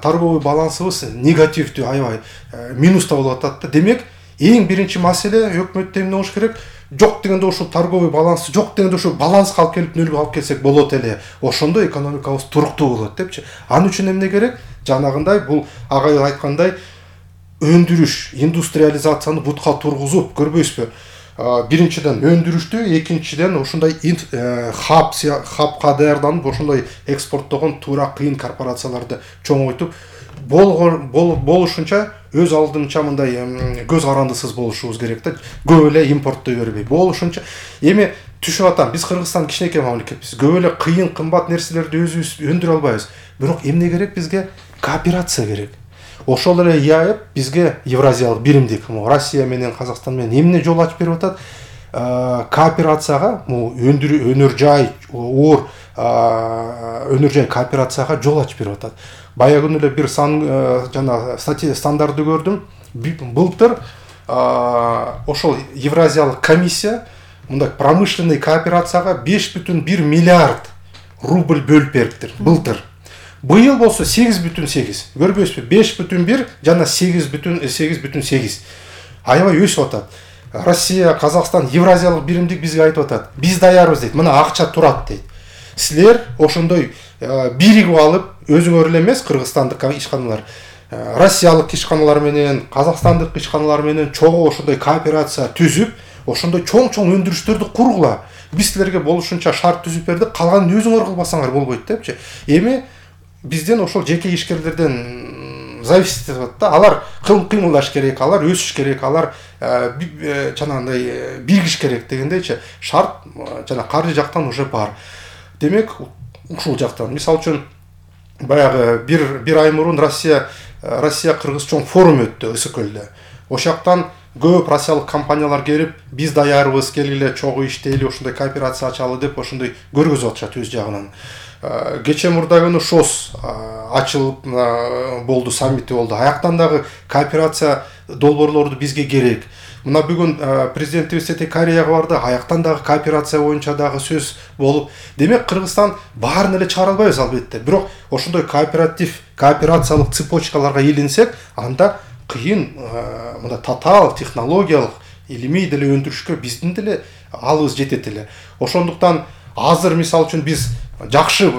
торговый балансыбыз негативдүү, аябай минуста болуп атат да. Демек, эң биринчи маселе өкмөттө эмне болуш керек? Жок дегенде ушул торговый баланс, жок дегенде ушул баланска алып келип нөлгө алып келсек болот эле. Ошондо экономикабыз туруктуу болот депчи. Анын үчүн эмне керек? Жанагындай бул агай айткандай өндүрүш, индустриализацияны бутка тургузуп, көрбөйсүзбү? Биринчиден өндүрүштү, экинчиден ушундай хаб хабка даярданып, ошондой экспорттогон туура кыйын корпорацияларды чоңойтуп болушунча өз алдынча мындай көз карандысыз болушубуз керек да. Көп эле импорттой бербей болушунча. Эми түшүп атам, биз Кыргызстан кичинекей мамлекетпиз. Көп эле кыйын кымбат нерселерди өзүбүз өндүрө албайбыз. Бирок эмне керек бизге? Кооперация керек. Ошол эле ЯЭП бизге Евразиялык биримдик, Россия менен Казакстан менен эмне жол ачып берип атат? Кооперацияга, өндүрүү, өнөр жай, оор өнөр жай кооперацияга жол ачып берип атат. Баягы күнү эле бир сан жана стандартты көрдүм. Былтыр ошол Евразиялык комиссия мындай промышленный кооперацияга беш бүтүн бир миллиард рубль бөлүп бериптир былтыр. Быйыл болсо сегиз бүтүн сегиз. Көрбөйсүзбү? беш бүтүн бир жана сегиз бүтүн сегиз. Аябай өсүп атат. Россия, Казакстан, Евразиялык биримдик бизге айтып атат. Биз даярбыз дейт. Мына акча турат дейт. Силер ошондой биригип алып, өзүңөр эле эмес, кыргызстандык ишканалар, россиялык ишканалар менен, казакстандык ишканалар менен чогуу ошондой кооперация түзүп, ошондой чоң-чоң өндүрүштөрдү кургула. Биз силерге болушунча шарт түзүп бердик, калганын өзүңөр кылбасаңар болбойт депчи. Эми бизден ошол жеке ишкерлерден зависит этип атат да. Алар кыймылдаш керек, алар өсүш керек, алар жанагындай биригиш керек дегендейчи. Шарт жана каржы жактан уже бар. Демек, ушул жактан, мисалы үчүн баягы бир бир ай мурун Россия Россия Кыргыз чоң форум өттү Ысыкөлдө. Ошоктан көп россиялык компаниялар келип, биз даярбыз, келгиле чогуу иштейли, ошондой кооперация ачалы деп ошондой көргөзүп атышат өз жагынан. Кече мурда күнү ШОС ачылып болду, саммити болду. Аяктан дагы кооперация долбоорлорду бизге керек. Мына бүгүн президентибиз Сете Кореяга барды, аяктан дагы кооперация боюнча дагы сөз болуп. Демек, Кыргызстан баарын эле чыгара албайбыз албетте. Бирок ошондой кооператив, кооперациялык цепочкаларга илинсек, анда кыйын мында татаал технологиялык, илимий деле өндүрүшкө биздин деле алыбыз жетет эле. Ошондуктан азыр мисалы үчүн биз жакшы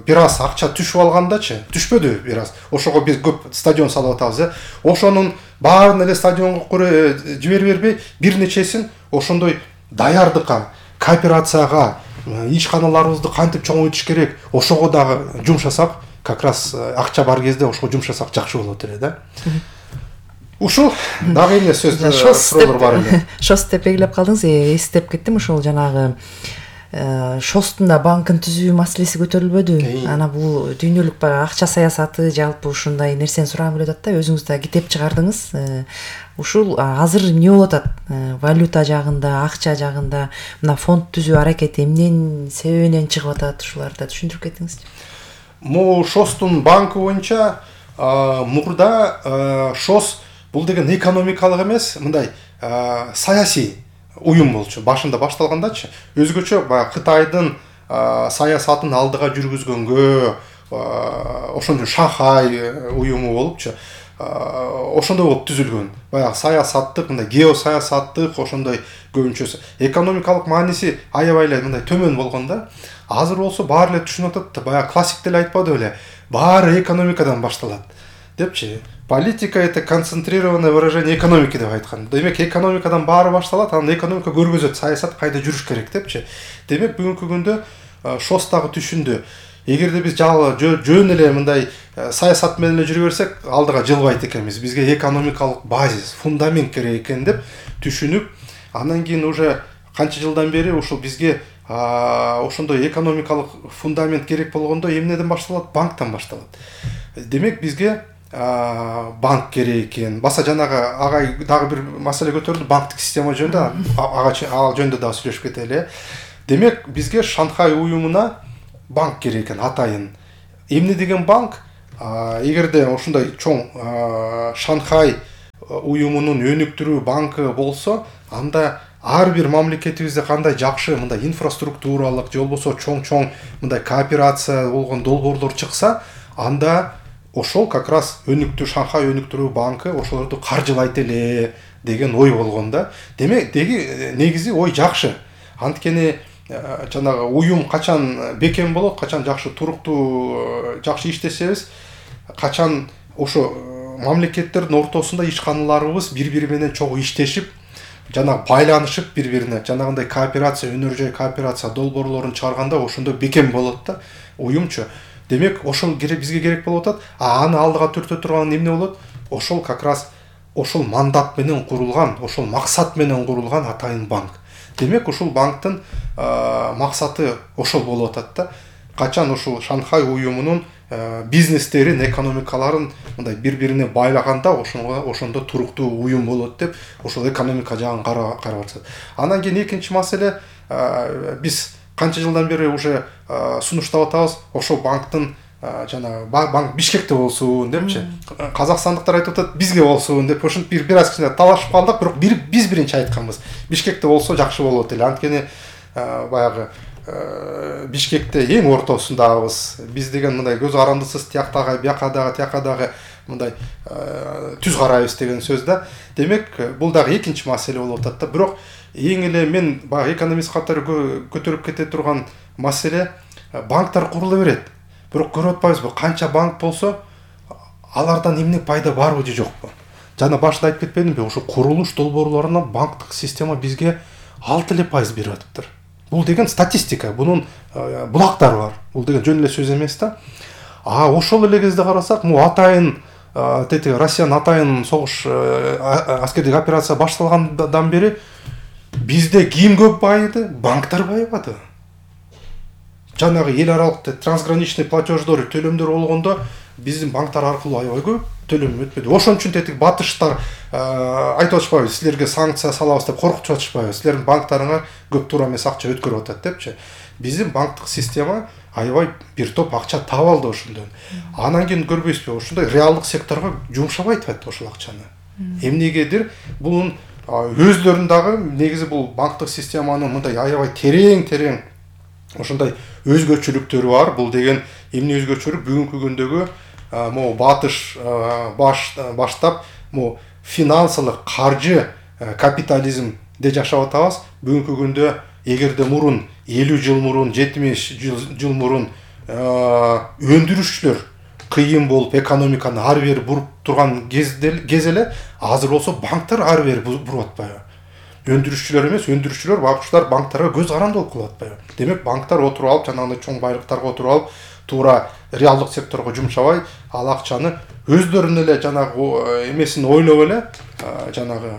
бир аз акча түшүп алгандачы, түшпөдү бир аз. Ошого биз көп стадион салып атабыз, э. Ошонун баарын эле стадионго жибере бербей, бир нечесин ошондой даярдыкка, кооперацияга, ишканаларыбызды кантип чоңойтуш керек, ошого дагы жумшасак, как раз акча бар кезде ошого жумшасак жакшы болот эле да. Ушул дагы эмне сөз суроолор бар эле. ШОС деп белгилеп калдыңыз, эстеп кеттим. Ошол жанагы ШОСтун да банкын түзүү маселеси көтөрүлбөдү. Ана бул дүйнөлүк баягы акча саясаты, жалпы ушундай нерсени сурагым келип атат да. Өзүңүз да китеп чыгардыңыз. Ушул азыр эмне болуп атат? Валюта жагында, акча жагында мына фонд түзүү аракети эмнен себебинен чыгып атат? Ушуларды түшүндүрүп кетиңизчи. Могу ШОСтун банкы боюнча мурда ШОС бул деген экономикалык эмес, мындай саясий уюм болчу. Башында башталгандачы, өзгөчө баягы Кытайдын саясатын алдыга жүргүзгөнгө, ошондой Шанхай уюму болупчу. Ошондой болуп түзүлгөн. Баягы саясаттык, мындай геосаясаттык, ошондой көбүнчөсү. Экономикалык мааниси аябай эле мындай төмөн болгон да. Азыр болсо баары эле түшүнүп атат. Баягы классик деле айтпады беле. Баары экономикадан башталат депчи. Политика — это концентрированное выражение экономики деп айткан. Демек, экономикадан баары башталат, анан экономика көргөзөт, саясат кайда жүрүш керек депчи. Демек, бүгүнкү күндө ШОС дагы түшүндү. Эгерде биз жөн эле мындай саясат менен эле жүрө берсек, алдыга жылбайт экенбиз. Бизге экономикалык базис, фундамент керек экен деп түшүнүп, андан кийин уже канча жылдан бери ушул бизге ошондой экономикалык фундамент керек болгондо эмнеден башталат? Банктан башталат. Демек бизге банк керек экен. Баса жанагы агай дагы бир маселе көтөрүлдү, банктык система жөнүндө, ага ал жөнүндө дагы сүйлөшүп кетели. Демек бизге Шанхай уюмуна банк керек экен, атайын. Эмне деген банк? Эгерде ошондой чоң Шанхай уюмунун өнүктүрүү банкы болсо, анда ар бир мамлекетибизде кандай жакшы мындай инфраструктуралык же болбосо чоң-чоң мындай кооперация болгон долбоорлор чыкса, анда ошол как раз өнүктүү Шанхай өнүктүрүү банкы ошолорду каржылайт эле деген ой болгон да. Демек деги негизи ой жакшы. Анткени жанагы уюм качан бекем болот, качан жакшы туруктуу жакшы иштесебиз, качан ошо мамлекеттердин ортосунда ишканаларыбыз бири-бири менен чогуу иштешип, жана байланышып бири-бирине, жанагындай кооперация, өнөр жай кооперация долбоорлорун чыгарганда ошондо бекем болот да уюмчу. Демек ошол керек бизге керек болуп атат. А аны алдыга түртө турган эмне болот? Ошол как раз ошол мандат менен курулган, ошол максат менен курулган атайын банк. Демек ушул банктын максаты ошол болуп атат да. Качан ушул Шанхай уюмунун бизнестерин, экономикаларын мындай бири-бирине байлаганда ошондо ошондо туруктуу уюм болот деп ошол экономика жагын карап атат. Анан кийин экинчи маселе, биз канча жылдан бери уже сунуштап атабыз, ошол банктын жана банк Бишкекте болсун депчи. Казакстандыктар айтып атат, бизге болсун деп, ошентип бир бир аз кичине талашып калдык, бирок биз биринчи айтканбыз. Бишкекте болсо жакшы болот эле. Анткени баягы Бишкекте эң ортосундабыз. Биз деген мындай көз карандысыз тияктагы, бияка дагы, тияка дагы мындай түз карайбыз деген сөз да. Демек, бул дагы экинчи маселе болуп атат да. Бирок эң эле мен баягы экономист катары көтөрүп кете турган маселе, банктар курула берет. Бирок көрүп атпайбызбы, канча банк болсо, алардан эмне пайда барбы же жокпу? Жана башында айтып кетпедимби, ошо курулуш долбоорлорунан банктык система бизге алты эле пайыз берип атыптыр. Бул деген статистика, бунун булактары бар. Бул деген жөн эле сөз эмес да. А ошол эле кезде карасак, му атайын тети Россиянын атайын согуш аскердик операция башталгандан бери бизде ким көп байыды? Банктар байыбады. Жанагы эл аралык трансграничный платеждор, төлөмдөр болгондо биздин банктар аркылуу аябай көп төлөм өтпөдү. Ошон үчүн тетик батыштар айтып атышпайбы, силерге санкция салабыз деп коркутуп атышпайбы, силердин банктарыңар көп туура эмес акча өткөрүп атат депчи. Биздин банктык система аябай бир топ акча таап алды ошондон. Анан кийин көрбөйсүзбү, ошондой реалдык секторго жумшабай атат ошол акчаны. Эмнегедир бунун өздөрүн дагы негизи бул банктык системанын мындай аябай терең-терең ошондой өзгөчөлүктөрү бар. Бул деген эмне өзгөчөлүк? Бүгүнкү күндөгү могу батыш баштап могу финансылык каржы капитализмде жашап атабыз. Бүгүнкү күндө эгерде мурун элүү жыл мурун, жетимиш жыл мурун өндүрүшчүлөр кыйын болуп экономиканы ары бери буруп турган кез эле, азыр болсо банктар ары бери буруп атпайбы? Өндүрүшчүлөр эмес, өндүрүшчүлөр, бакчылар банктарга көз карандылык кылып атпайбы? Демек банктар отуруп алып, жанагындай чоң байлыктарга отуруп алып, туура реалдык секторго жумшабай, ал акчаны өздөрүнүн эле жанагы эмесин ойлоп эле, жанагы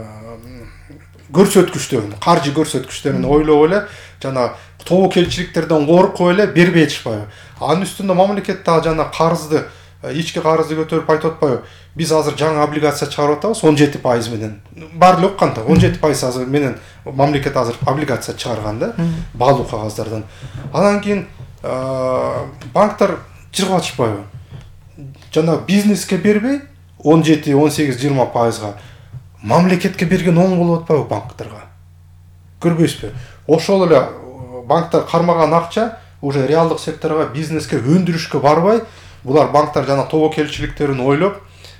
көрсөткүчтөрүн, каржы көрсөткүчтөрүн ойлоп эле, жана тобокелчиликтерден коркуп эле бербей атышпайбы? Анын үстүндө мамлекет дагы жана карызды, ички карызды көтөрүп айтып атпайбы? Биз азыр жаңы облигация чыгарып атабыз он жети пайыз менен. Бар эле укканда он жети пайыз азыр менен мамлекет азыр облигация чыгарган да, баалуу кагаздардан. Анан кийин банктар жыргап атышпайбы? Жана бизнеске бербей он жети, он сегиз, жыйырма пайызга мамлекетке берген оң болуп атпайбы банктарга? Көрбөйсүзбү? Ошол эле банктар кармаган акча уже реалдык секторго, бизнеске, өндүрүшкө барбай, булар банктар жана тобокелчиликтерин ойлоп,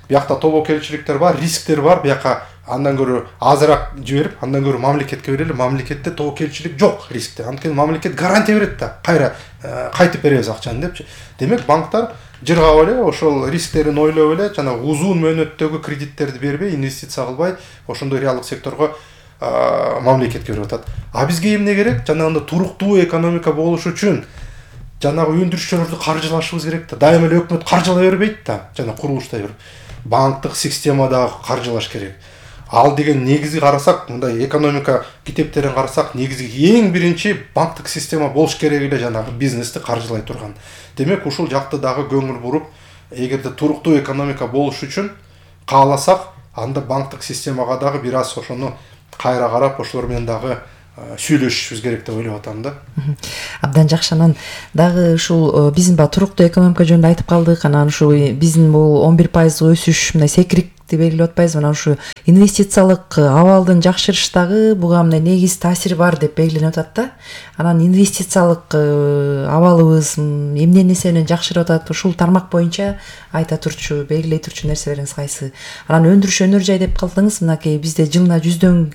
биякта тобокелчиликтер бар, рисктер бар, бияка андан көрө азыраак жиберип, андан көрө мамлекетке берели. Мамлекетте тобокелчилик жок, рискте. Анткени мамлекет гарантия берет да, кайра кайтып беребиз акчаны депчи. Демек банктар жыргап эле, ошол рисктерин ойлоп эле, жана узун мөөнөттөгү кредиттерди бербей, инвестиция кылбай, ошондой реалдык секторго мамлекетке берип атат. А бизге эмне керек? Жанагындай туруктуу экономика болуш үчүн жанагы өндүрүшчүлөрдү каржылашыбыз керек да. Дайыма эле өкмөт каржылай бербейт да, жана курулуштай берип. Банктык системада каржылаш керек. ал деген негизи карасак, мындай экономика китептерин карасак, негизи эң биринчи банктык система болуш керек эле жанагы бизнести каржылай турган. Демек ушул жакты дагы көңүл буруп, эгерде туруктуу экономика болуш үчүн кааласак, анда банктык системага дагы бир аз ошону кайра карап, ошолор менен дагы сүйлөшүшүбүз керек деп ойлоп атам да. Абдан жакшы. Анан дагы ушул биздин ба туруктуу экономика жөнүндө айтып калдык. Анан ушул биздин бул он бир пайыз өсүш мындай секирикти белгилеп атпайбызбы? Анан ушу инвестициялык абалдын жакшырыштагы буга мындай негиз таасири бар деп белгиленип атат да. Анан инвестициялык абалыбыз эмне нерсе менен жакшырып атат? Ушул тармак боюнча айта турчу, белгилей турчу нерселериңиз кайсы? Анан өндүрүш өнөр жай деп калдыңыз. Мынакей бизде жылына жүздөн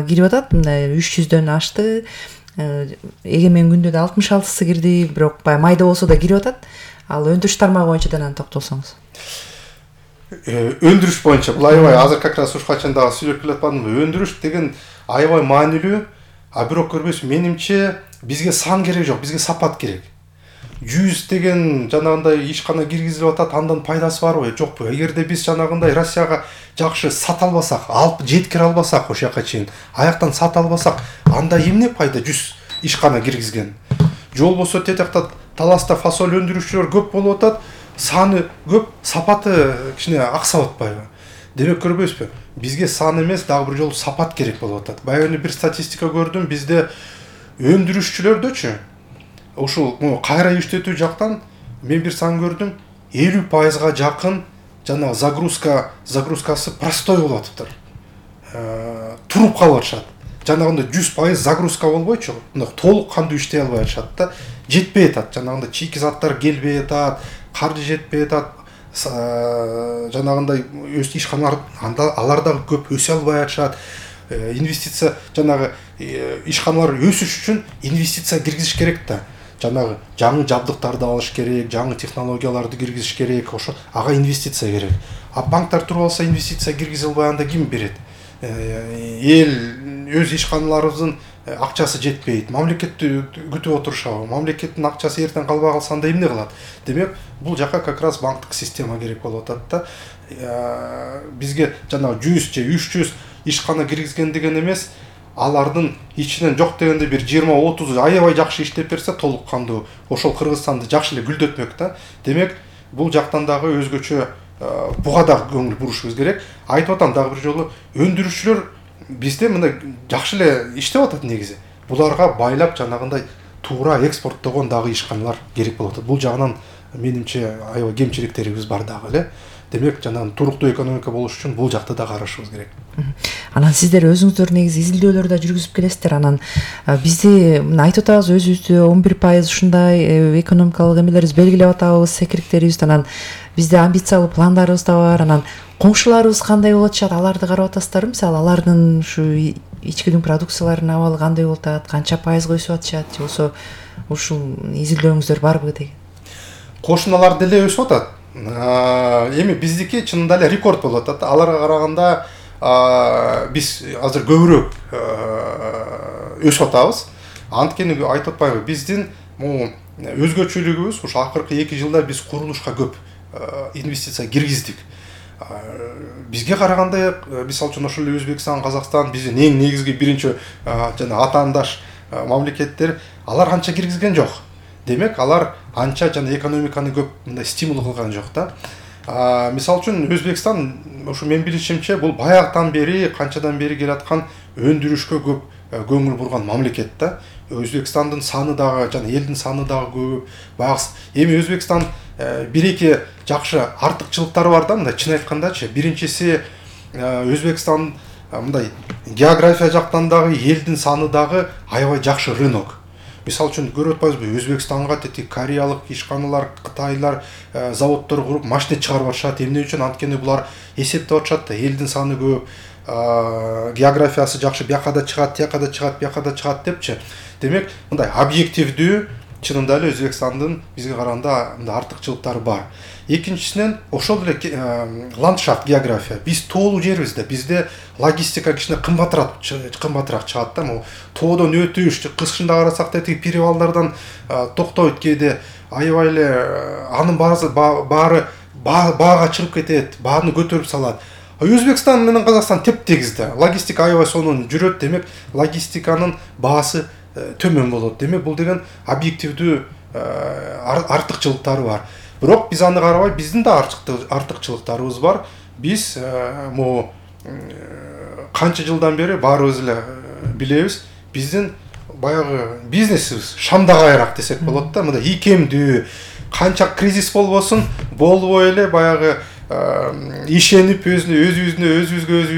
кирип атат, мындай үч жүздөн ашты. Эгемен күндө да алтымыш алтысы кирди, бирок баягы майда болсо да кирип атат. Ал өндүрүш тармагы боюнча да токтолсоңуз. Өндүрүш боюнча бул аябай азыр как раз ушуга чейин дагы сүйлөп келатпадымбы? Өндүрүш деген аябай маанилүү, а бирок көрбөйсүз, менимче бизге сан керек жок, бизге сапат керек. жүз деген жанагындай ишкана киргизилип атат, андан пайдасы барбы, жокпу? Эгерде биз жанагындай Россияга жакшы сата албасак, алып жеткире албасак, ошол жака чейин аяктан сата албасак, анда эмне пайда жүз ишкана киргизген? Же болбосо тетекта таласта фасоль өндүрүүчүлөр көп болуп атат, саны көп, сапаты кичине аксап атпайбы? Демек көрбөйсүзбү? Бизге сан эмес, дагы бир жолу сапат керек болуп атат. Баягы эле бир статистика көрдүм, бизде өндүрүшчүлөрдөчү ушул кайра иштетүү жактан мен бир сан көрдүм, элүү пайызга жакын жана загрузка загрузкасы простой болуп атыптыр. Туруп калып атышат. Жанагындай жүз пайыз загрузка болбойчу, мындай толук кандуу иштей албай атышат да. Жетпей атат, жанагындай чийки заттар келбей атат, каржы жетпей атат. Жанагындай өз ишканалар анда алар дагы көп өсө албай атышат. Инвестиция жанагы ишканалар өсүш үчүн инвестиция киргизиш керек да. Жанагы жаңы жабдыктарды алыш керек, жаңы технологияларды киргизиш керек, ошо ага инвестиция керек. А банктар туруп алса инвестиция киргизе албай, анда ким берет? Эл өз ишканаларыбыздын акчасы жетпейт, мамлекетти күтүп отурушабы? Мамлекеттин акчасы эртең калбай калса анда эмне кылат? Демек, бул жака как раз банктык система керек болуп атат да. Бизге жанагы жүз же үч жүз ишкана киргизген деген эмес, алардын ичинен жок дегенде бир жыйырма отуз аябай жакшы иштеп берсе толук кандуу ошол Кыргызстанды жакшы эле гүлдөтмөк да. Демек, бул жактан дагы өзгөчө буга да көңүл бурушубуз керек. Айтып атам дагы бир жолу, өндүрүүчүлөр бизде мындай жакшы эле иштеп атат негизи. Буларга байлап жанагындай туура экспорттогон дагы ишканалар керек болуп атат. Бул жагынан менимче аябай кемчиликтерибиз бар дагы эле. Демек, жанагы туруктуу экономика болуш үчүн бул жакты да карашыбыз керек. Анан сиздер өзүңүздөр негизи изилдөөлөр да жүргүзүп келесиздер. Анан бизди мына айтып атабыз, өзүбүздү он бир пайыз ушундай экономикалык эмелерибиз белгилеп атабыз, секириктерибиз. Анан бизде амбициялуу пландарыбыз да бар. Анан коңшуларыбыз кандай болуп атышат? Аларды карап атасыздарбы? Мисалы, алардын ушу ичкидин продукцияларынын абалы кандай болуп атат? Канча пайызга өсүп атышат? Же болбосо ушул изилдөөлөрүңүздөр барбы деген? Кошуналар деле өсүп атат. Эми биздики чынында эле рекорд болуп атат. Аларга караганда биз азыр көбүрөөк өсүп атабыз. Анткени айтып атпайбы, биздин өзгөчөлүгүбүз ушу акыркы эки жылда биз курулушка көп инвестиция киргиздик. Бизге караганда, мисалы үчүн ошол эле Өзбекстан, Казакстан биздин эң негизги биринчи жана атаандаш мамлекеттер, алар анча киргизген жок. Демек, алар анча жана экономиканы көп мындай стимул кылган жок да. Мисалы үчүн Өзбекстан, ушу мен билишимче, бул баягытан бери, канчадан бери келаткан өндүрүшкө көп көңүл бурган мамлекет да. Өзбекстандын саны дагы жана элдин саны дагы көп. Баягы эми Өзбекстан бир-эки жакшы артыкчылыктары бар да, мындай чын айткандачы. Биринчиси, Өзбекстан мындай география жактан дагы элдин саны дагы аябай жакшы рынок. Мисалы үчүн көрүп атпайбызбы, Өзбекстанга тети кореялык ишканалар, кытайлар заводдор куруп машина чыгарып атышат. Эмне үчүн? Анткени булар эсептеп атышат да, элдин саны көп, географиясы жакшы, бияка да чыгат, тияка да чыгат, бияка да чыгат депчи. Демек, мындай объективдүү чынында эле Өзбекстандын бизге караганда мындай артыкчылыктары бар. Экинчисинен ошол эле ландшафт, география. Биз тоолуу жербиз да, бизде логистика кичине кымбатыраак кымбатыраак чыгат да. Могу тоодон өтүш, кышында карасак да тиги перевалдардан токтойт кээде, аябай эле анын баары баага чыгып кетет, бааны көтөрүп салат. Өзбекстан менен Казакстан тептегиз да. Логистика аябай сонун жүрөт, демек логистиканын баасы төмөн болот. Демек бул деген объективдүү артыкчылыктары бар. Бирок биз аны карабай, биздин да артыкчылыктарыбыз бар. Биз могу канча жылдан бери баарыбыз эле билебиз, биздин баягы бизнесибиз шамдагайраак десек болот да. Мындай ийкемдүү, канча кризис болбосун, болбой эле баягы ишенип өзүнө өзүбүздү өзүбүзгө өзүбүз